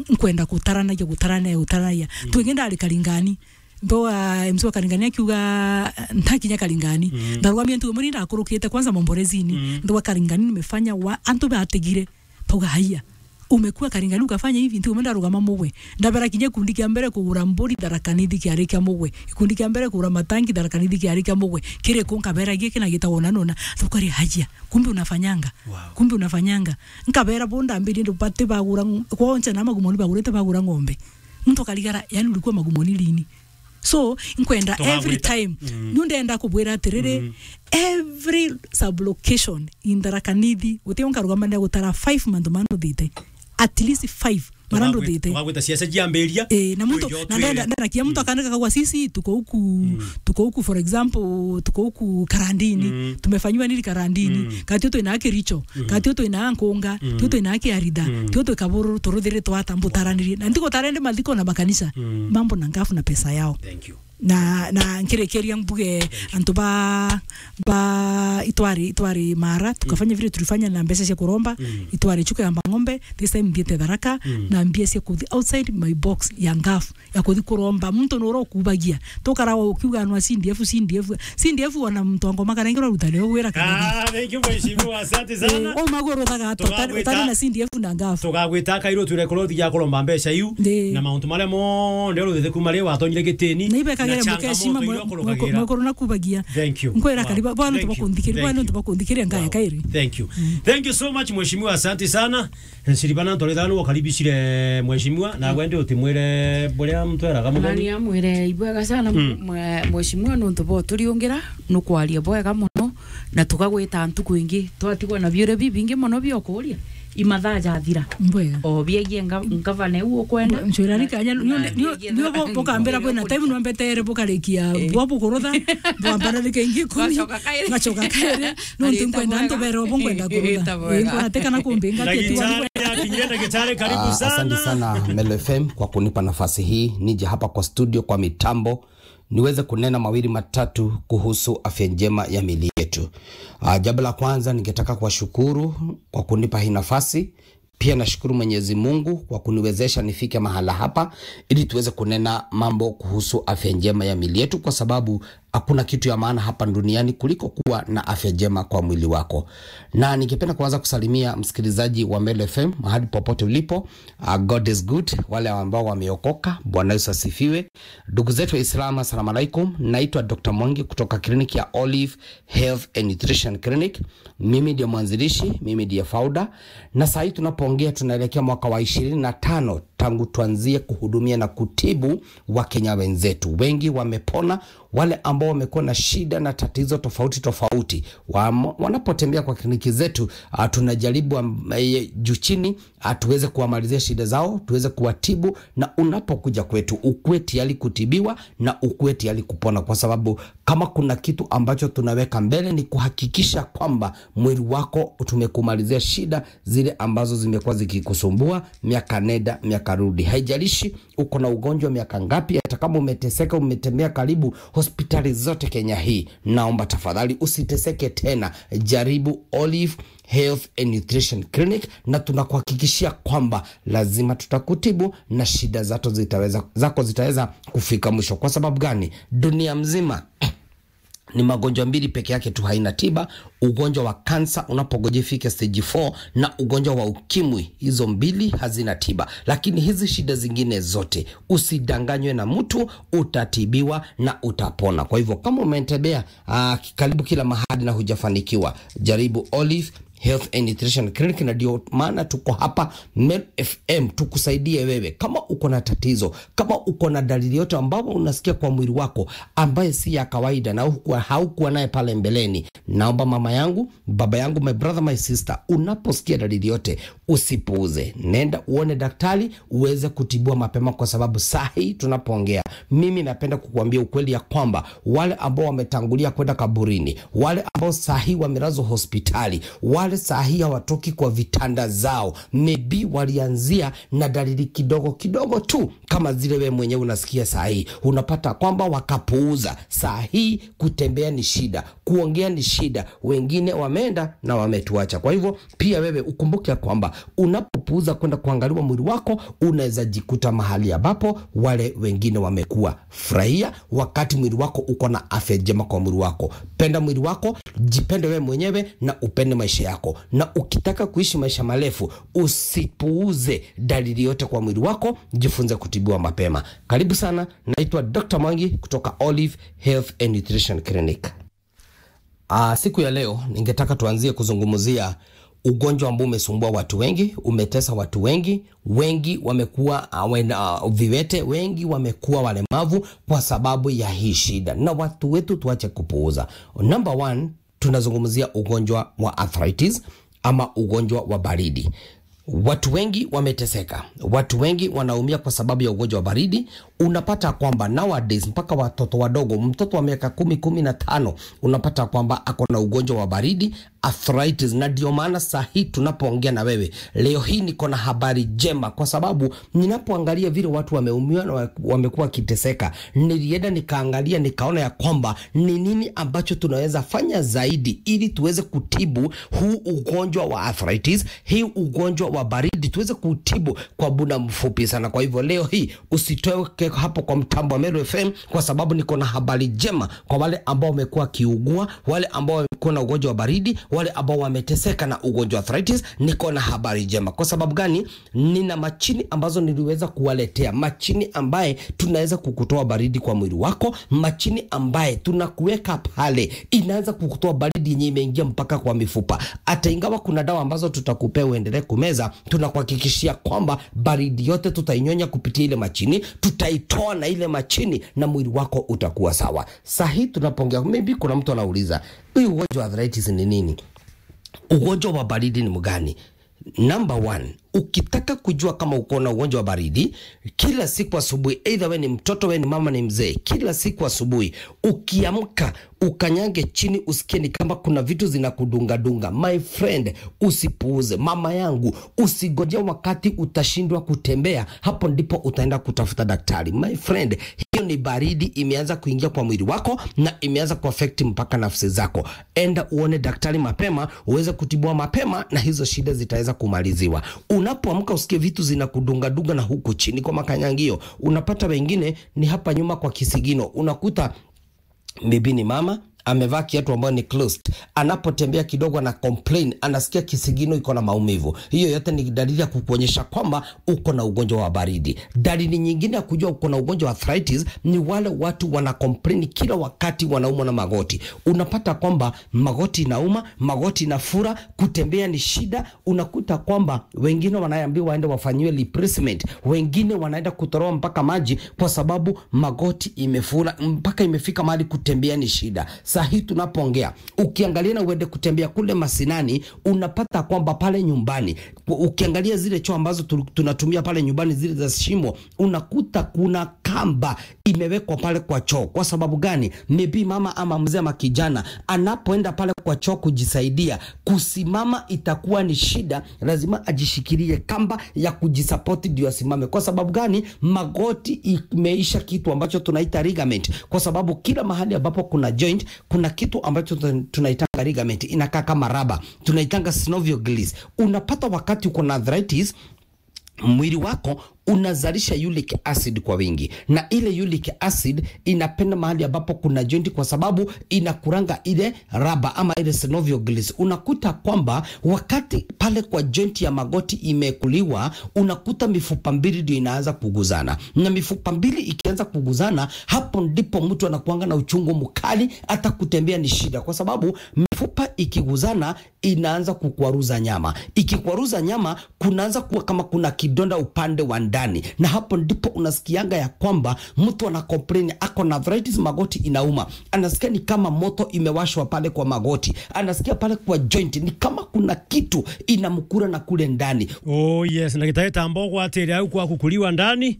Nkwenda gutaranagia, gutaranagia, gutaranagia. Twingi ndari Karingani. Ndo, ah, M C wa Karingani akiuga, ntakinya Karingani. Ndarugamia ntugo muni ndakurukite kwanza Momborezini. Ndo wa Karingani nimefanya wa, antu bategire. Pauga, "Haiya. Umekuwa Karingani ukafanya hivi, ntugo muni ndarugama mugwe." Ndabera kinya gikundi kia mbere kugura mburi Tharaka Nithi kiari kia mugwe. Gikundi kia mbere kugura matangi Tharaka Nithi kiari kia mugwe. Kiri ku nkabera giki na gitagwo na nona. Tukari, "Haiya. Kumbe unafanyanga." Kumbe unafanyanga. Nkabera bo ndambiri ndo bati bagura ng-, kwoncha na magumoni bagurite bagura ng'ombe. Muntu akarigara, yani ulikuwa magumoni lini? So, nkwenda every time. Ni ndenda kubwira atiriri, every sub-location in Tharaka Nithi, guti unkarugama na gutara five mantu manduthite. At least five maranduthite. Tugagwita siasa ciambiria. Eh, na muntu, na ndenda, ndenda kia muntu akandika kagwa, "Sisi tuko huku, tuko huku, for example, tuko huku Karandini, tumefanyiwa nini Karandini? Katio twina Kericho, katio twina Nkunga, tio twina Kiarida, tio twi Kabururu, turuthire twata mbutaranirie." Na ntiko tarende mathiko na makanisa. Mambo na ngafu na pesa yao. Thank you. Na, na nkirikiria mbuge antu ba, ba itwari, itwari Mara, tukafanya vile tulifanya na mbeca cia kuromba, itwari chuka ya Mbang'ombe, this time nthiete Tharaka, na mbia cia kuthi outside my box ya ngafu, ya kuthi kuromba. Muntu nura ukubagia. Tukara ukiuga anwa C D F, C D F, C D F ona muntu wa Ngoma karengera rutani ugwira kanene. Ah, thank you, mheshimiwa. Asante sana. Eh, o maguru thaga to, tari na C D F na ngafu. Tugagwita kairo twire kurothi ya kuromba mbeca iu. Na mauntu maria monthe ruthithe kuma ri watonyire gitini. Na ibekagire mukeshima mwekuru na kubagia. Thank you. Nkwira kariba, bwana tubakundikiria, bwana tubakundikiria ngaya kairi. Thank you. Thank you so much, mheshimiwa. Asante sana. Nsiribana ntoretha ni wakaribishire mheshimiwa, na wende utimwire buria mtweraga muthoni. Nani amwire ibwega sana, mwe-, mheshimiwa, nontu bo turiungira, nukwaria bwega muno, na tukagwita ntuku ingi, twatigwa na biuria bibingi muno biokuria, imathaa jathira. Mbwega. O biegie nga-, ngavana iu ukwenda. Ncwira ni kanya, nio, nio, nio bo-, bukambira kwina time, nwambetere bukarikia, bwa bukurutha, bwambara rike ingi kumi, ngacoka kairi. Nontu nkwenda antu bera obo nkwenda kurutha. Ii, nkwona ati kana kumbinga ati ati wani. Ndagitari, akinyire ndagitari, karibu sana. Ah, asante sana Melo F M kwa kunipa nafasi hii nije hapa kwa studio, kwa mitambo, niweze kunena mawili matatu kuhusu afya njema ya miili yetu. Ah, jambo la kwanza, ningetaka kuwashukuru kwa kunipa hii nafasi. Pia nashukuru Mwenyezi Mungu kwa kuniwezesha nifike mahala hapa ili tuweze kunena mambo kuhusu afya njema ya miili yetu, kwa sababu hakuna kitu ya maana hapa duniani kuliko kuwa na afya njema kwa mwili wako. Na ningependa kuanza kusalimia msikilizaji wa Melo F M mahali popote ulipo. Uh, God is good. Wale ambao wameokoka, Bwana Yesu asifiwe. Ndugu zetu wa Islam, assalamu alaikum. Naitwa Doctor Mwangi kutoka kliniki ya Olive Health and Nutrition Clinic. Mimi ndiye mwanzilishi, mimi ndiye founder. Na saa hii tunapoongea tunaelekea mwaka wa ishirini na tano tangu tuanzie kuhudumia na kutibu Wakenya wenzetu. Wengi wamepona, wale ambao ambao wamekuwa na shida na tatizo tofauti tofauti, wa-, wanapotembea kwa kliniki zetu, ah, tunajaribu am-, eh, juu chini, ah, tuweze kuwamalizia shida zao, tuweze kuwatibu, na unapokuja kwetu, ukuwe tayari kutibiwa na ukuwe tayari kupona, kwa sababu kama kuna kitu ambacho tunaweka mbele ni kuhakikisha kwamba mwili wako tumekumalizia shida zile ambazo zimekuwa zikikusumbua miaka nenda, miaka rudi. Haijalishi uko na ugonjwa miaka ngapi, hata kama umeteseka, umetembea karibu hospitali zote Kenya hii, naomba tafadhali usiteseke tena. Jaribu Olive Health and Nutrition Clinic, na tunakuhakikishia kwamba lazima tutakutibu na shida zato zitaweza, zako zitaweza kufika mwisho. Kwa sababu gani? Dunia mzima ni magonjwa mbili peke yake tu haina tiba: ugonjwa wa kansa unapogojea ifike stage four, na ugonjwa wa ukimwi. Hizo mbili hazina tiba, lakini hizi shida zingine zote, usidanganywe na mtu, utatibiwa na utapona. Kwa hivyo, kama umetembea, ah, karibu kila mahali na hujafanikiwa, jaribu Olive Health and Nutrition Clinic, na ndio maana tuko hapa Meru F M tukusaidie wewe. Kama uko na tatizo, kama uko na dalili yote ambayo unasikia kwa mwili wako ambaye si ya kawaida na hukuwa, haukuwa naye pale mbeleni, naomba mama yangu, baba yangu, my brother, my sister, unaposikia dalili yote, usipuuze. Nenda uone daktari uweze kutibiwa mapema, kwa sababu saa hii tunapoongea, mimi napenda kukuambia ukweli ya kwamba wale ambao wametangulia kwenda kaburini, wale ambao saa hii wamelazwa hospitali, wale saa hii hawatoki kwa vitanda zao, maybe walianzia na dalili kidogo kidogo tu, kama zile we mwenyewe unasikia saa hii. Unapata kwamba wakapuuza. Saa hii kutembea ni shida, kuongea ni shida, wengine wameenda na wametuacha. Kwa hivyo, pia wewe ukumbuke ya kwamba unapopuuza kwenda kuangaliwa mwili wako, unaweza jikuta mahali ambapo wale wengine wamekuwa. Furahia wakati mwili wako uko na afya njema kwa mwili wako. Penda mwili wako, jipende wewe mwenyewe na upende maisha yako. Na ukitaka kuishi maisha marefu, usipuuze dalili yote kwa mwili wako, jifunze kutibiwa mapema. Karibu sana, naitwa Doctor Mwangi kutoka Olive Health and Nutrition Clinic. Ah, siku ya leo ningetaka tuanzie kuzungumzia ugonjwa ambao umesumbua watu wengi, umetesa watu wengi, wengi wamekuwa, ah, wen-, ah, viwete, wengi wamekuwa walemavu kwa sababu ya hii shida. Na watu wetu tuache kupuuza. Number one, tunazungumzia ugonjwa wa arthritis ama ugonjwa wa baridi. Watu wengi wameteseka, watu wengi wanaumia kwa sababu ya ugonjwa wa baridi. Unapata kwamba nowadays mpaka watoto wadogo, mtoto wa miaka kumi, kumi na tano, unapata kwamba ako na ugonjwa wa baridi, arthritis. Na ndio maana saa hii tunapoongea na wewe leo hii, niko na habari njema, kwa sababu ninapoangalia vile watu wameumia na wa-, wamekuwa wakiteseka, nilienda nikaangalia, nikaona ya kwamba ni nini ambacho tunaweza fanya zaidi ili tuweze kutibu huu ugonjwa wa arthritis, hii ugonjwa wa baridi, tuweze kutibu kwa muda mfupi sana. Kwa hivyo leo hii usitoke hapo kwa mtambo wa Meru F M, kwa sababu niko na habari njema kwa wale ambao wamekuwa wakiugua, wale ambao wamekuwa na ugonjwa wa baridi, wale ambao wameteseka na ugonjwa wa arthritis. Niko na habari njema. Kwa sababu gani? Nina machini ambazo niliweza kuwaletea, machini ambaye tunaweza kukutoa baridi kwa mwili wako, machini ambaye tunakuweka pale, inaanza kukutoa baridi yenye imeingia mpaka kwa mifupa. Hata ingawa kuna dawa ambazo tutakupea uendelee kumeza, tunakuhakikishia kwamba baridi yote tutainyonya kupitia ile machini, tutaitoa na ile machini na mwili wako utakuwa sawa. Saa hii tunapoongea, maybe kuna mtu anauliza, "Hii ugonjwa wa arthritis ni nini?" Ugonjwa wa baridi ni mgani? Number one, ukitaka kujua kama uko na ugonjwa wa baridi, kila siku asubuhi, either we ni mtoto, we ni mama, ni mzee, kila siku asubuhi ukiamka, ukanyange chini, usikie ni kama kuna vitu zinakudunga dunga. My friend, usipuuze. Mama yangu, usigoje wakati utashindwa kutembea, hapo ndipo utaenda kutafuta daktari. My friend, hiyo ni baridi imeanza kuingia kwa mwili wako na imeanza kuaffect mpaka nafsi zako. Enda uone daktari mapema, uweze kutibiwa mapema na hizo shida zitaweza kumaliziwa. Unapoamka usikie vitu zinakudunga dunga na huku chini kwa makanyangio, unapata wengine ni hapa nyuma kwa kisigino, unakuta maybe ni mama amevaa kiatu ambayo ni closed, anapotembea kidogo ana complain, anasikia kisigino iko na maumivu. Hiyo yote ni dalili ya kukuonyesha kwamba uko na ugonjwa wa baridi. Dalili nyingine ya kujua uko na ugonjwa wa arthritis ni wale watu wana complain kila wakati wanaumwa na magoti. Unapata kwamba magoti inauma, magoti inafura, kutembea ni shida. Unakuta kwamba wengine wanaambiwa waende wafanyiwe replacement, wengine wanaenda kutolewa mpaka maji kwa sababu magoti imefura, mpaka imefika mahali kutembea ni shida. Saa hii tunapoongea, ukiangalia na uende kutembea kule mashinani, unapata kwamba pale nyumbani, u-, ukiangalia zile choo ambazo tu-, tunatumia pale nyumbani, zile za shimo, unakuta kuna kamba imewekwa pale kwa choo. Kwa sababu gani? Maybe mama ama mzee ama kijana anapoenda pale kwa choo kujisaidia, kusimama itakuwa ni shida, lazima ajishikilie kamba ya kujisupport ndio asimame. Kwa sababu gani? Magoti imeisha kitu ambacho tunaita ligament, kwa sababu kila mahali ambapo kuna joint, kuna kitu ambacho tun-, tunaitanga ligament, inakaa kama raba, tunaitanga synovial gills. Unapata wakati uko na arthritis, mwili wako unazalisha uric acid kwa wingi, na ile uric acid inapenda mahali ambapo kuna joint, kwa sababu inakuranga ile raba ama ile synovial gills. Unakuta kwamba wakati pale kwa joint ya magoti imekuliwa, unakuta mifupa mbili ndio inaanza kuguzana, na mifupa mbili ikianza kuguzana, hapo ndipo mtu anakuanga na uchungu mkali, hata kutembea ni shida, kwa sababu mifupa ikiguzana inaanza kukwaruza nyama. Ikikwaruza nyama, kunaanza kuwa kama kuna kidonda upande wa ndani, na hapo ndipo unasikianga ya kwamba mtu ana complain ako na arthritis, magoti inauma, anasikia ni kama moto imewashwa pale kwa magoti, anasikia pale kwa joint ni kama kuna kitu inamkura na kule ndani. Oh yes, na gitae tambo gwatire au kwa kukuliwa ndani.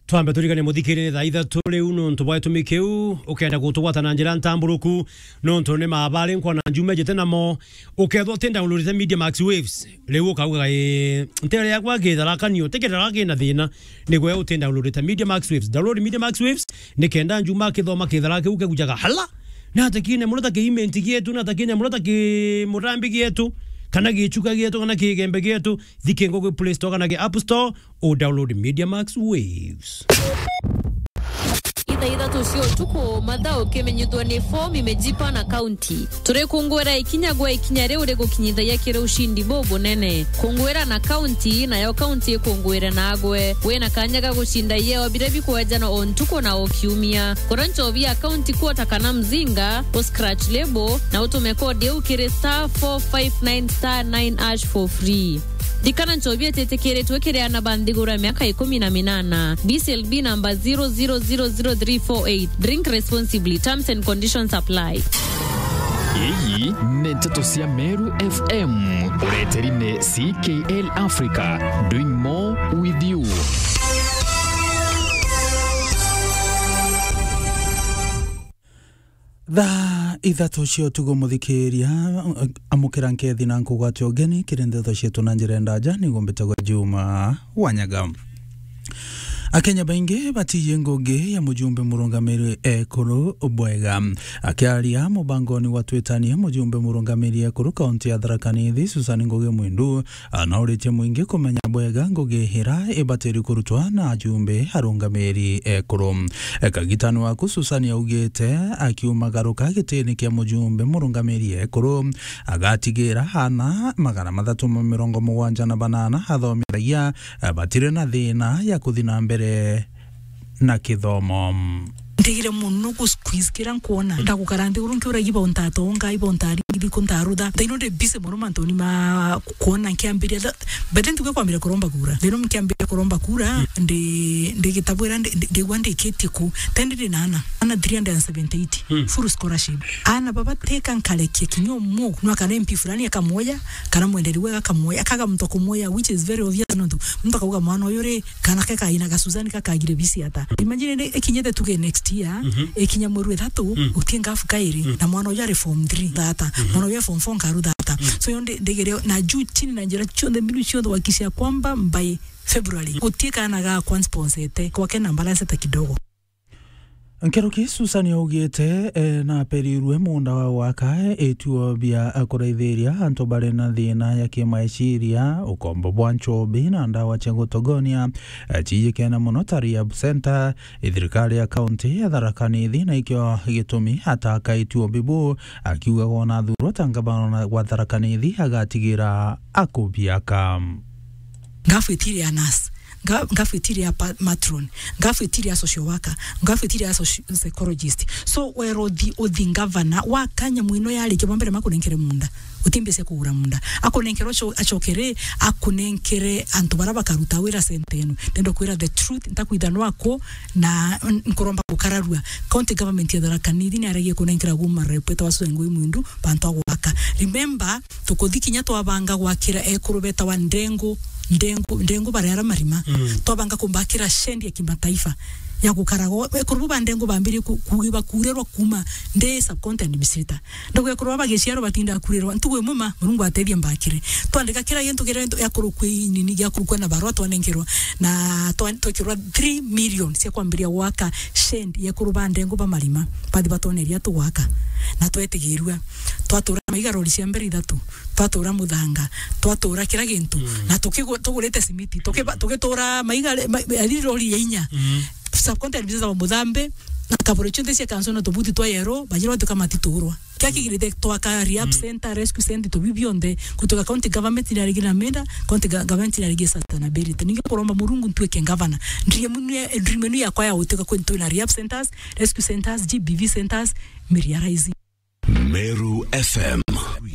Twambe turigane muthikiri ni thaa ithatu riu nontu bwa gitumi kiu. Ukenda gutugwata na njira ntamburuku nontu ni mabari nkona njuma ejite namo, ukethwa uti downloadite Media Max Waves, riu ukauga, "Ii, ntere yakwa githarakanio, ti githara kina thina." Nigwe uti downloadite Media Max Waves. Download Media Max Waves, nikenda njuma akithoma kithara kiu kegujaga hala, na atakine muno ta kiimenti gietu, na atakine muno ta kimurambi gietu, kana gichuka gietu, kana kigembe gietu. Thike ngugi Play Store kana ki App Store, u download Media Max Waves. Ithaa ithatu cia utuku, mathaa ukimenyithua ni fomu imejipa na kaunti. Turikunguira ikinya gwa ikinya riu rigukinyithagia kiri ushindi bubunene. Kunguira na kaunti, nayo kaunti ikunguire nagwe. Wina kanya ga gucinda ieo biria bikwejanwa o ntuku na o kiumia. Kura nchobi ya kaunti kuota kana mzinga, u scratch lebo, na utume kodi iu kiri star four five nine star nine hash for free. Ririkana, nchobi ititikiritwe kiri aana ba nthiguru ya miaka ikumi na minana. B C L B number zero zero zero zero three four eight. Drink responsibly. Terms and conditions apply. Iyi ni nteto cia Meru F M. Ureteri ni C K L Africa. Doing more with you. Thaa ithatu cia utuku, muthikiria, amukira nkethi na nkugwate ugeni kiri ndeto cietu na njira ndaja, niguo mbitagwa Juma Wanyaga. Akenya baingi batiye ngugi ya mujumbe murungamiri ekuru bwega. Akiaria mubangoni wa Twitanie, mujumbe murungamiri ekuru kaunti ya Tharaka Nithi, Susan Ngugi Mwindu, anauritie mwingi kumenya bwega ngugi ira ibatiri kurutwa na ajumbe arungamiri ekuru. Kagitani waku Susan augite akiumagaruka gitini kia mujumbe murungamiri ekuru, agatigira ana magana mathatu ma mirongo mugwanja na banana athomithagia batiri na thina ya kuthi na mbere na kithomo. Ndigire muno gu squeeze kira nkwona. Ndagukara nthiguru nkiuragia ibo ntatonga, ibo ntaringithi ku ntarutha. Thaino ndi busy muno mantuni ma kwona nkiambiria tha-, but ntuge kwambire kuromba kura. Thaino nkiambiria kuromba kura, mm, ndi, ndi gitabwira ndi, ndi, ndigua ndikitie ku. Then ndi na ana, ana three hundred and seventy-eight, mm, full scholarship. Ana baba teka nkarekia kinya umwe, no akana M P fulani akamuoya, kana mwenderi wega akamuoya, akaga muntu akumuoya, which is very obvious nontu muntu akauga mwana uyu ri, kana ke kaina ga Susan kakagire bisi ata. Imagine ni ikinyite tuge next year, mhm, ikinya mweri wa ithatu, mm, utie ngafu kairi, mm, na mwana uyu ari form three thata, mhm, mwana uyu ari form four nkaru thata. Mm. So yo ndi-, ndigere na juu chini na njira cionthe, mbinu cionthe wakishia kwamba by February, gutie kana gakwa nsponsete, kwake na balance ta kidogo. Nkuruki Susan augite, eh, naperirwe muunda wa gwaka, ituo bia kuraithiria antu bari na thina ya kimaeciria, ukombo bwa nchobi na ndawa cia gutogonia, eh, ciijikene mono ta rehab center. Thirikari ya kaunti ya Tharaka Nithi na ikio gitumi ataka ituo bibu, akiuga wona athurwa ta ngavana wa Tharaka Nithi agatigira akubiaka. Ngafwitiria nurse, nga-, ngafwitiria pa-, matron, ngafwitiria social worker, ngafwitiria soci-, psychologist. So, wero uthi, uthi ngavana, wa kanya mwino yarikia bwa mbere makunenkere munda. Uti mbia cia kugura munda. Akunenkere ucho-, achokere, akunenkere antu bara bakaruta wira center ino. Ndenda kwira the truth, ntakwitha nwako, na n-, nkuromba gukararua. County government ya Tharaka Nithi ni aregie kunenkera guma rep eta wa Susan Ngui Mwindu, bantu a gwaka. Remember, tukuthi kinya twabanga gwakira ekuru betawa Ndengu, Ndengu, Ndengu baria ara marima. Mm. Twabanga kumbakira shed ya kimataifa ya gukaraga. Ekuru bu ba Ndengu bambirie ku-, kugi-, bakurirwa kuma ndi sub county administrator. Ndogo ekuru bagiciarwa batinda kurirwa. Ntugu imwe ma, Murungu atethia mbakire. Twandika kira gintu kiria gintu ya kurukwi nini, ya kurukwa na barua twanenkerwa. Na twa-, twekirwa three million cia kwambiria gwaka shed ya ekuru ba Ndengu ba marima. Bathi batwoneria tugwaka. Na twetigirua. Twatura maiga rori cia mbere ithatu. Twatura muthanga, twatura kira gintu, mm, na tukigu-, tugurite simiti, tukiba-, tugitura maiga re-, ma-, ari rori ya inya. Mm. Subcontinent business wa Muthambe, na kaburi cionthe cia kanso na tubuti twa yero, bajira batuka matiturwa. Kia kigirite twaka rehab, mm, center, rescue center, tubi bionthe, kutoka county government ni arigina menda, county ga-, government ni arigina sustainability. Ningi kuromba Murungu ntuike ngavana. Dream ni, dream ni yakwa ya gutuika kwintu na rehab centers, rescue centers, G B V centers, miriaraisi. Meru F M,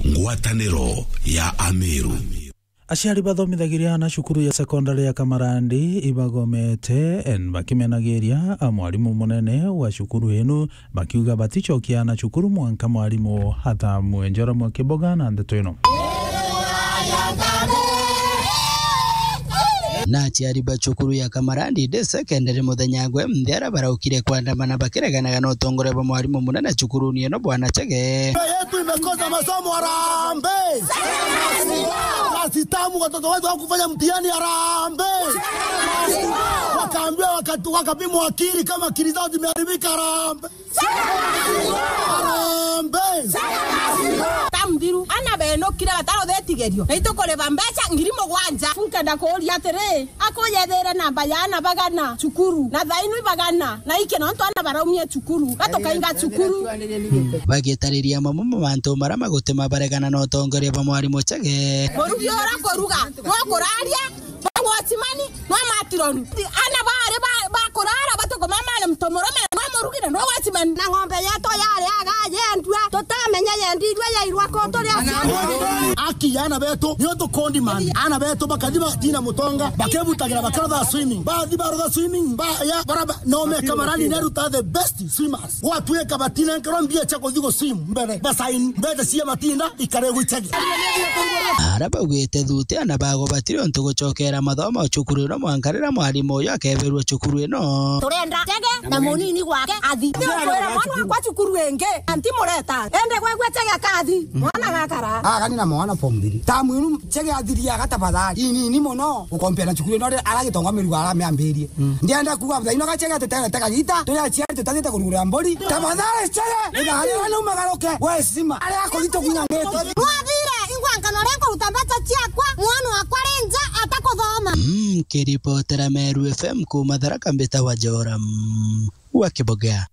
ngwataniro ya Ameru. Aciari bathomithagiria ana cukuru ya sekondari ya Kamarandi ibagomete, en, bakimenagiria a mwarimu munene wa cukuru inu, bakiuga baticokia ana cukuru mwanka mwarimu athamue. Njora Mwakiboga na ndeto ino. Na aciari ba cukuru ya Kamarandi Day Secondary muthenya gwe mthera baraukire kwandamana bakireganaga na utongoria bwa mwarimu munene cukuruni ino, Bwana Chege. Shule yetu imekosa masomo, harambee! Basi tamu, watoto wetu hawakufanya mtihani, harambee! Wakaambiwa wakati, wakapimwa akili kama akili zao zimeharibika, harambee! Harambee! Tamthiru, ana benukire bataruthe itigerio. Na itukuriba mbeca ngiri mugwanja. Nkenda kuuria atiri, akuyethire namba ya ana bagana cukuru, na thainu ibagana, na iki nontu ana baraumie cukuru, gatukainga cukuru. Bagitariria mamwe ma mantu maria magutuma baregana na utongoria bwa mwarimu Chege. Murugi ura kuruga, no kuraria, no watchman, no matron. Ana bari ba, ba kurara, batuko mama na mtomurume, no murugi na no watchman. Na ng'ombe yetu yari aga yendua, tutamenya yendirwe yairwa ku turi aciari. Aki ya ana betu, nio tukondi man. Ana betu bakathi batina mutonga, bakebutagira bakarotha swimming. Bathi barotha swimming, ba, ya, baraba, no meka marani neruta the best swimmers. Gwatuika batinenkerwa mbia cia kuthi gu swim mbere. Basain, mbeca cia matinda, ikare gwichagia. Ara baugite thuti ana bago batiri untu gucokera mathomo cukuru ino mwanka riria mwarimu uyu akeberua cukuru ino. Turenda Chege na munini gwake athi. Ni ukwira mwana wakwa cukuru ingi, anti mureta. Ende gwegwe Chege akathi, mwana gakara. Agani na mwana form three. Tamu inu Chege athiria agatabathari. Inini muno, ukompea na cukuru ino ri-, aragitonga mirugo aramiambirie. Mm. Ndienda kuuga muthaino ga Chege tutegete kagita, turi aciari tutagite kurugurira mburi. Tafadhali Chege, itharira riu magaruke, we sima, aria akuri tukunyangite. Mwathire, ingwa nkano ria kuruta mbeca ciakwa, mwana wakwa ri nja atakuthoma. Mm, kiripotera Meru F M kuma Tharaka mbita wa Joram wa Kiboga.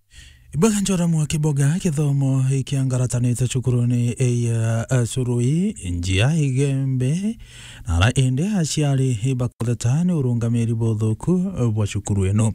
Iboga Njora mwa Kiboga, kithomo ikiangaratanite cukuruni ya, eh, Surui, njia Igembe, na ara indi aciari ibakotheta ni urungamiri buthuku bwa cukuru ino.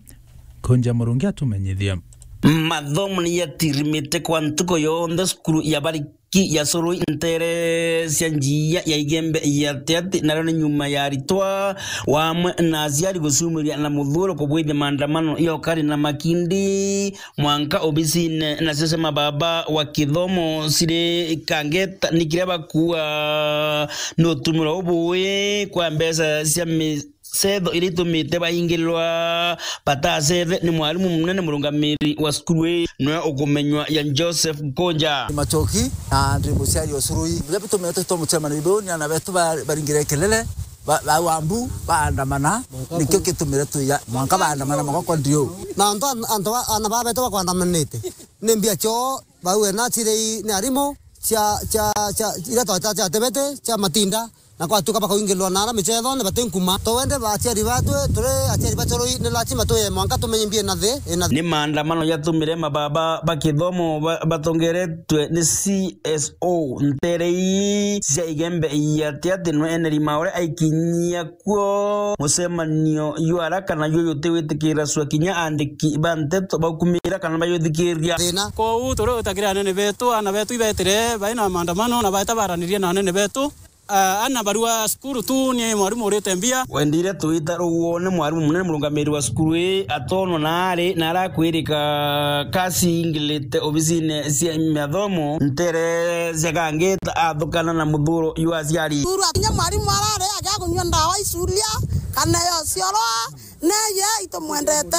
Kunja Murungi atumenyithia. Mathomo ni yatirimite kwa ntuku yonthe cukuru ya Bariki ya Surui ntere cia njia ya Igembe ya Tiati, nario ni nyuma ya aritwa wamwe na aciari gucumiria na muthuuro kubwithia maandamano ya ukari na makindi. Mwanka obisine nacio cia mababa wa kithomo ciri kangeta ni kiria bakua ni utumiro ubui kwa mbeca cia micetho iria itumite baingirirwa batacethe ni mwarimu munene murungamiri wa cukuru ii, niwe ukumenywa ya Joseph Nkunja. Ni Machoki na ndi muciari o Surui. Biria bitumite twitwa mucemanio biu ni ana betu ba-, baringire kelele. Ba-, ba Wambu baandamana, nikio gitumire twiya mwanka baandamana magoko ndiu. Na antu an-, antu ba-, ana babetu bakwandamanite. Ni mbia cio bau ena cirei ni arimu cia, cia, cia, iria twata cia tebete, cia matinda, na kwatuka bakaingilwa na ara micethone bati nkuma. Twende ba aciari batwe, turi aciari bacoroi, ni lazima tuye mwanka tumenye mbia ina thi, ina thi. Ni maandamano jatumire mababa ba kithomo ba-, batongeretwe ni C S O ntere ii cia Igembe iati ati nwe Henry Maore aikinyia kuo mucemanio jwa araka na juu jutiwitikira cua kinya andiki ba nteto baukumira kana bayuthikiria. Thina. Kwou turi gwitakira anene betu, ana betu ibetire bai na maandamano na baeta baranirie na anene betu. Ah, ana barua cukuru tu ni mwarimu urite mbia. Wendire twita ruguo ni mwarimu munene murungamiri wa cukuru ii atonwa na ari na arakwirika kasi ingilite obisine cia mathomo ntere cia Gangita athukana na muthuro jwa aciari. Thuru akinya mwarimu arare agia kunyua ndawa icuria kana yo cioro, neye itumwendete,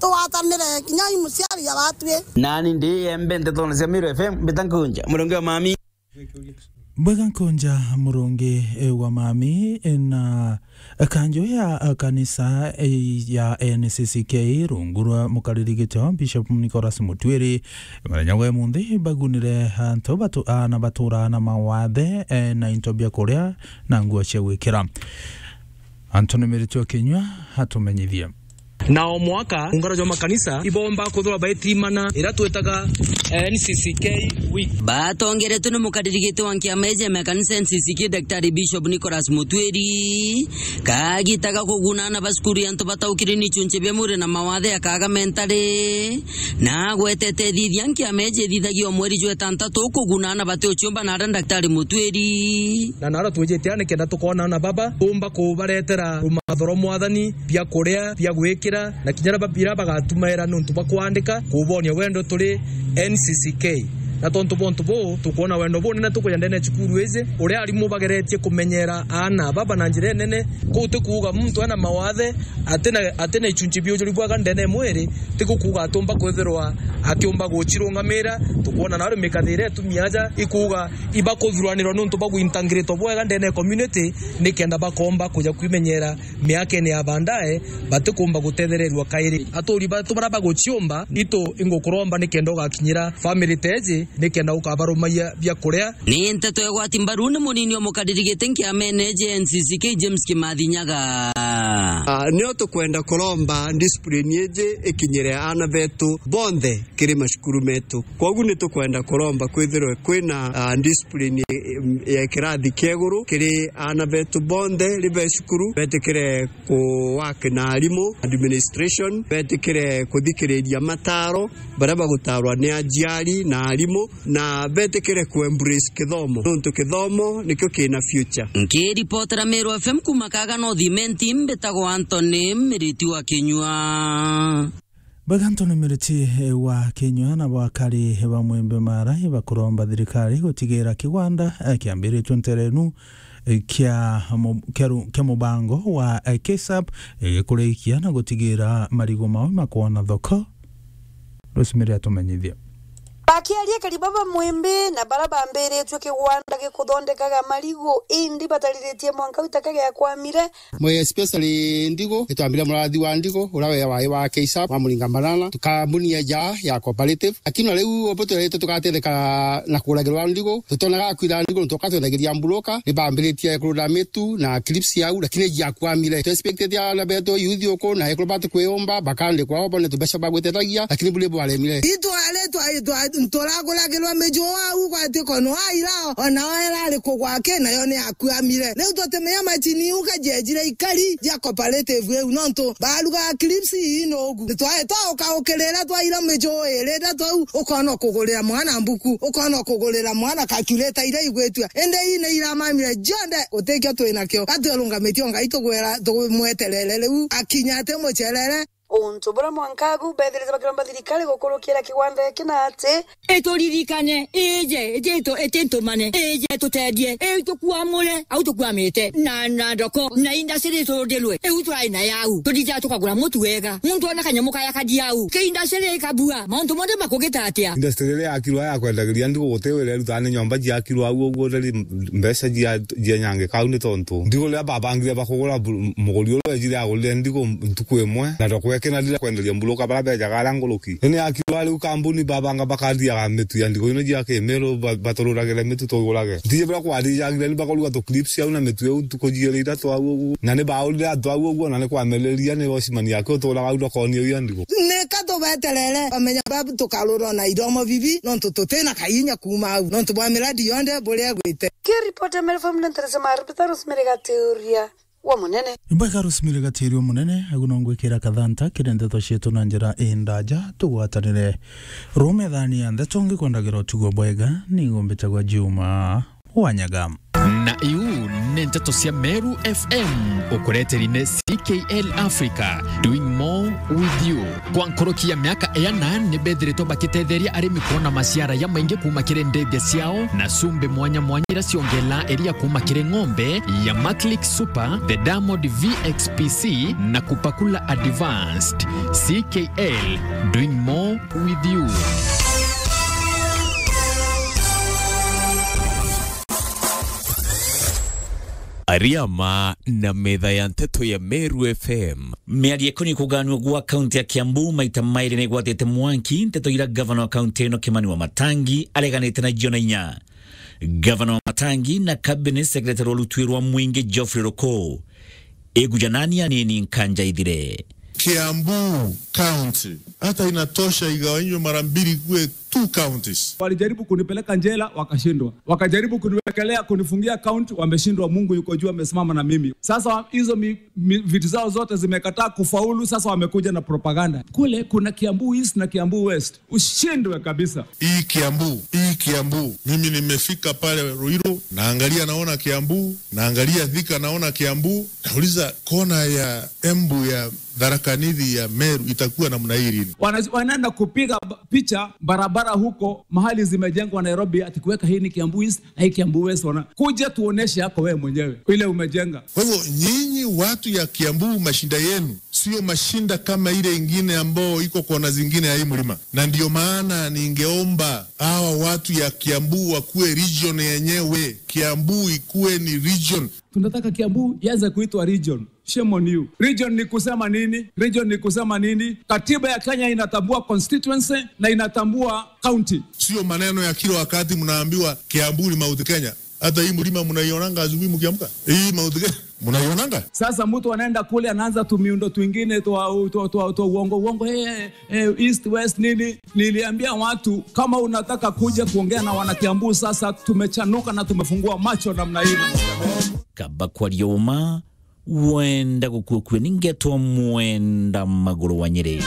tugwatanire kinya i muciari aratwi. Nani ndi Embe ntetone cia Miru F M, mbita Nkunja, murungi wa mami. Bwega Nkunja, murungi, eh, wa mami, eh, na kanjo ya, eh, kanisa, eh, ya N C C K rungu rwa mukariri gitio Bishop Nicholas Mutwiri, muthenya wa munthi bagunire antu batu-, ana batura na mawathe, eh, na into bia kuria na nguo cia gwikira. Anthony Miritu wa Kinyua atumenyithie. Na o mwaka, ungano jwa makanisa ibomba kuthura baitimana iria twitaga, eh, N C C K Week. Batongeretwe ni mukaririgiti wa nkiama iji ya makanisa N C C K, Daktari Bishop Nicholas Mutwiri, kagitaga kuguna ana ba cukuru ya antu bataukire ni ichunchi bia mwiri na mawathe ya kaga mentari. Na agwetete ithithia nkiama iji ithithagia o mweri jwa itantatu kuguna ana bati uchiumba na aria Daktari Mutwiri. Na naro twijite nikenda tukoona ana baba, tumba kubaretera rumatho rwa Mwathani, bia kuria, bia gwikira, na kinya bira bagatumaira niuntu bwa kwandika, kubonia wendo turi N C C K. Na tontu bontu buu, tukwona wendo bunene tukuja ndene ya cukuru iji, uria arimu bageretie kumenyera aana baba na njira inene. Kuu ti kuuga muntu ena mawathe, atina, atina ichunchi bia ujuri bwega ndene ya mwiri, ti gukuuga atumba kwithirwa akiumba gucirungamira. Tukwona nario mikathe iria itumia aja ikuuga ibakuthuranirwa niuntu bwa gwintangirito bwega ndene ya community, nikenda bakomba kuja kwimenyera miakene ya baadaye, batikumba gutethererua kairi. Aturi batu baria baguciumba, itu ingukuromba nikenda ugakinyira family teji, nikenda ukabarumaia bia kuria. Ni nteto ya gwati mbaru ni munini wa mukariri giti nkiamene J N C C K James Kimathi Nyaga. Ah, nio tukwenda kuromba discipline iji ikinyire aana betu bonthe kiri macukuru metu. Kwogu ni tukwenda kuromba kwithirwe kwina, ah, discipline, em, ya kirathi kia iguru kiri aana betu bonthe ri be cukuru, betikire ku work na arimu, administration, betikire kuthikiriria mataro baria bagutarwa ni aciari na arimu, na betikire ku embrace kithomo, nontu kithomo nikio kina future. Nkiripotera Meru F M kuma Kaga North Imenti, mbitagwa Anthony Miriti wa Kinyua. Bwega Anthony Miriti, eh, wa Kinyua, na bakari ba Mwembe Mara ibakuromba thirikari gutigira kigwanda, eh, kiambiritwe nterenu, eh, kia mu-, kia ru-, kia mubango wa, eh, K S A P, eh, kurikia na gutigira marigu mao makwona thoko. Rosemary atumenyithia. Bakiaria kari baba Mwembe na bara bambiritwe kigwanda gikuthondekaga marigu, indi batariritie mwanka utaka giakwamire. Mwe especially ndigu, itwambire murathi wa ndigu, uria we wai wa K S A P, wa Muringa Banana, tukambuni ya ja ya cooperative. Lakini riu obo twirite tugatetheka na kuragirwa ndigu, tutonaga kwira ndigu, nontu tukatwendagiria mburoka, ni bambiritie kurura mitu na clips yau, lakini jiakwamire. Tu expected ana betu youth uku, na ekuru batu kwiumba, bakandikwa obo ni tubeca bagwitetagia, lakini buri bwaremire. Itwari twa, twa, turaguragirwa miju au, gwati kono aira, ona oera ari kugwake, nayo ni akuamire. Riu tutimenya macini iu kajejire ikari ja cooperative iu, nontu barugaga clips ii nogu. Twae twauka ukirira twaira miju iri ithatu au, ukona ukugurira mwana mbuku, ukona ukugurira mwana calculator iria igwitua. Indi ii ni iramamire jonthe, gutikio twinakio. Gatwirungamitie o Ngai tugwira, tumweterere riu akinya ati mucerere. Untu buria mwanka agu beethirite bakiromba thirikari gukurukira kigwanda giki na ati, ituririkane, ije, ije itu-, iti ntumane, ije tutethie, itukuamure, au tukuamite, na, na ndoko, na industry iturundirwe, iu turai na yau, tutithia tukagura mutu wega, muntu ona kanyamu kaya kathi au, ki industry ikabua, mauntu monthe makugita atia? Industry iria yakirwa ya kwendagiria ndigu guti wira irutaga ni nyomba ciakirwa au uguo, ndari mbeca cia, cia nyangi kau ni tontu ndigu riria babangire bakugura bu-, muguri uria wejire agurire ndigu ntuku imwe, na ndoko ekena rira kwenderia mburuka bara bejaga ara nguruki. Ni yakirwa riu kambuni babanga bakathiaga mitu ya ndigu ino cia kimiru ba-, batururagire mitu tugurage. Ntiji bira kwathijagira ni bakoruga tu clips au na mitu iu ntuku jiiri ithatu au uguo. Na ni baurire antu au uguo na ni kwamereria ni washimani yake uturaga au ndokoni iu ya ndigu. Ni ka tubeterere bamenya babu tukarurwa na iromo bibi nontu tutina kainya kuuma au nontu bwa miradi yonthe buria igwite. Kiripoti ya Meru F M ni Teresa Marubita, Rosemary Gatiuria wa Munene. Imbwega Rosemary Gatiuria wa Munene, agu no ngwikira kathanta kiri ndeto cietu na njira indaja tugwatanire. Ruu methani ya ndeto ngikwendagira utugo bwega, ningumbitagwa Juma Wanyaga. Na iu ni nteto cia Meru F M, ukureteri ni C K L Africa, doing more with you. Kwa nkuruki ya miaka iana, ni bethiritwe bakitetheria arimi kwona maciara jamaingi kuuma kiri ndithia ciao na cumbi mwanya mwanya iria ciongelaa iria kuuma kiri ng'ombe ya Maclick Super, the Diamond V X P C na Kupakula Advanced. C K L, doing more with you. Ariama na metha ya nteto ya Meru F M. Miario ikoni kuganua gwa kaunti ya Kiambu maita mairi ni igwatite mwanki nteto ira gavana wa kaunti ino Kimani Wamatangi areganite na Jona Inya. Gavana Wamatangi na cabinet secretary wa rutwi rwa mwingi Geoffrey Ruku. Igujanani anini nkanja ithire. Kiambu County hata inatosha igawanywe mara mbili kuwe two counties. Walijaribu kunipeleka njela, wakashindwa. Wakajaribu kuniwekelea, kunifungia account, wameshindwa. Mungu yuko juu, amesimama na mimi. Sasa wa-, hizo mi-, mi-, vitu zao zote zimekataa kufaulu, sasa wamekuja na propaganda. Kule kuna Kiambu East na Kiambu West. Ushindwe kabisa. Hii Kiambu, hii Kiambu. Mimi nimefika pale Ruiru, naangalia naona Kiambu, naangalia Thika naona Kiambu. Nauliza, kona ya Embu ya Tharaka Nithi ya Meru itakuwa namna hii lini? Wana-, wanaenda kupiga ba-, picha barabara huko mahali zimejengwa Nairobi, ati kuweka hii ni Kiambu East na hii Kiambu West. Wana-, kuja tuoneshe yako wewe mwenyewe ile umejenga. Kwa hivyo nyinyi watu ya Kiambu, mashinda yenu sio mashinda kama ile ingine ambao iko kona zingine ya hii mlima, na ndio maana ningeomba hawa watu ya Kiambu wakuwe region yenyewe. Kiambu ikuwe ni region. Tunataka Kiambu ianze kuitwa region. Shame on you. Region ni kusema nini? Region ni kusema nini? Katiba ya Kenya inatambua constituency na inatambua county. Sio maneno ya kila wakati mnaambiwa Kiambu ni Mount Kenya. Hata hii mlima mnaionanga asubuhi mkiamka? Hii Mount Kenya mnaionanga? Sasa mtu anaenda kule anaanza tumiundo twingine twa, twa, twa, twa uongo, uongo, eh, eh, east, west, nini? Niliambia watu, kama unataka kuja kuongea na wana Kiambu, sasa tumechanuka na tumefungua macho namna hii. Kaba kwaria uma, wenda gukua kue, ningetwa Mwenda Maguru wa Nyeri.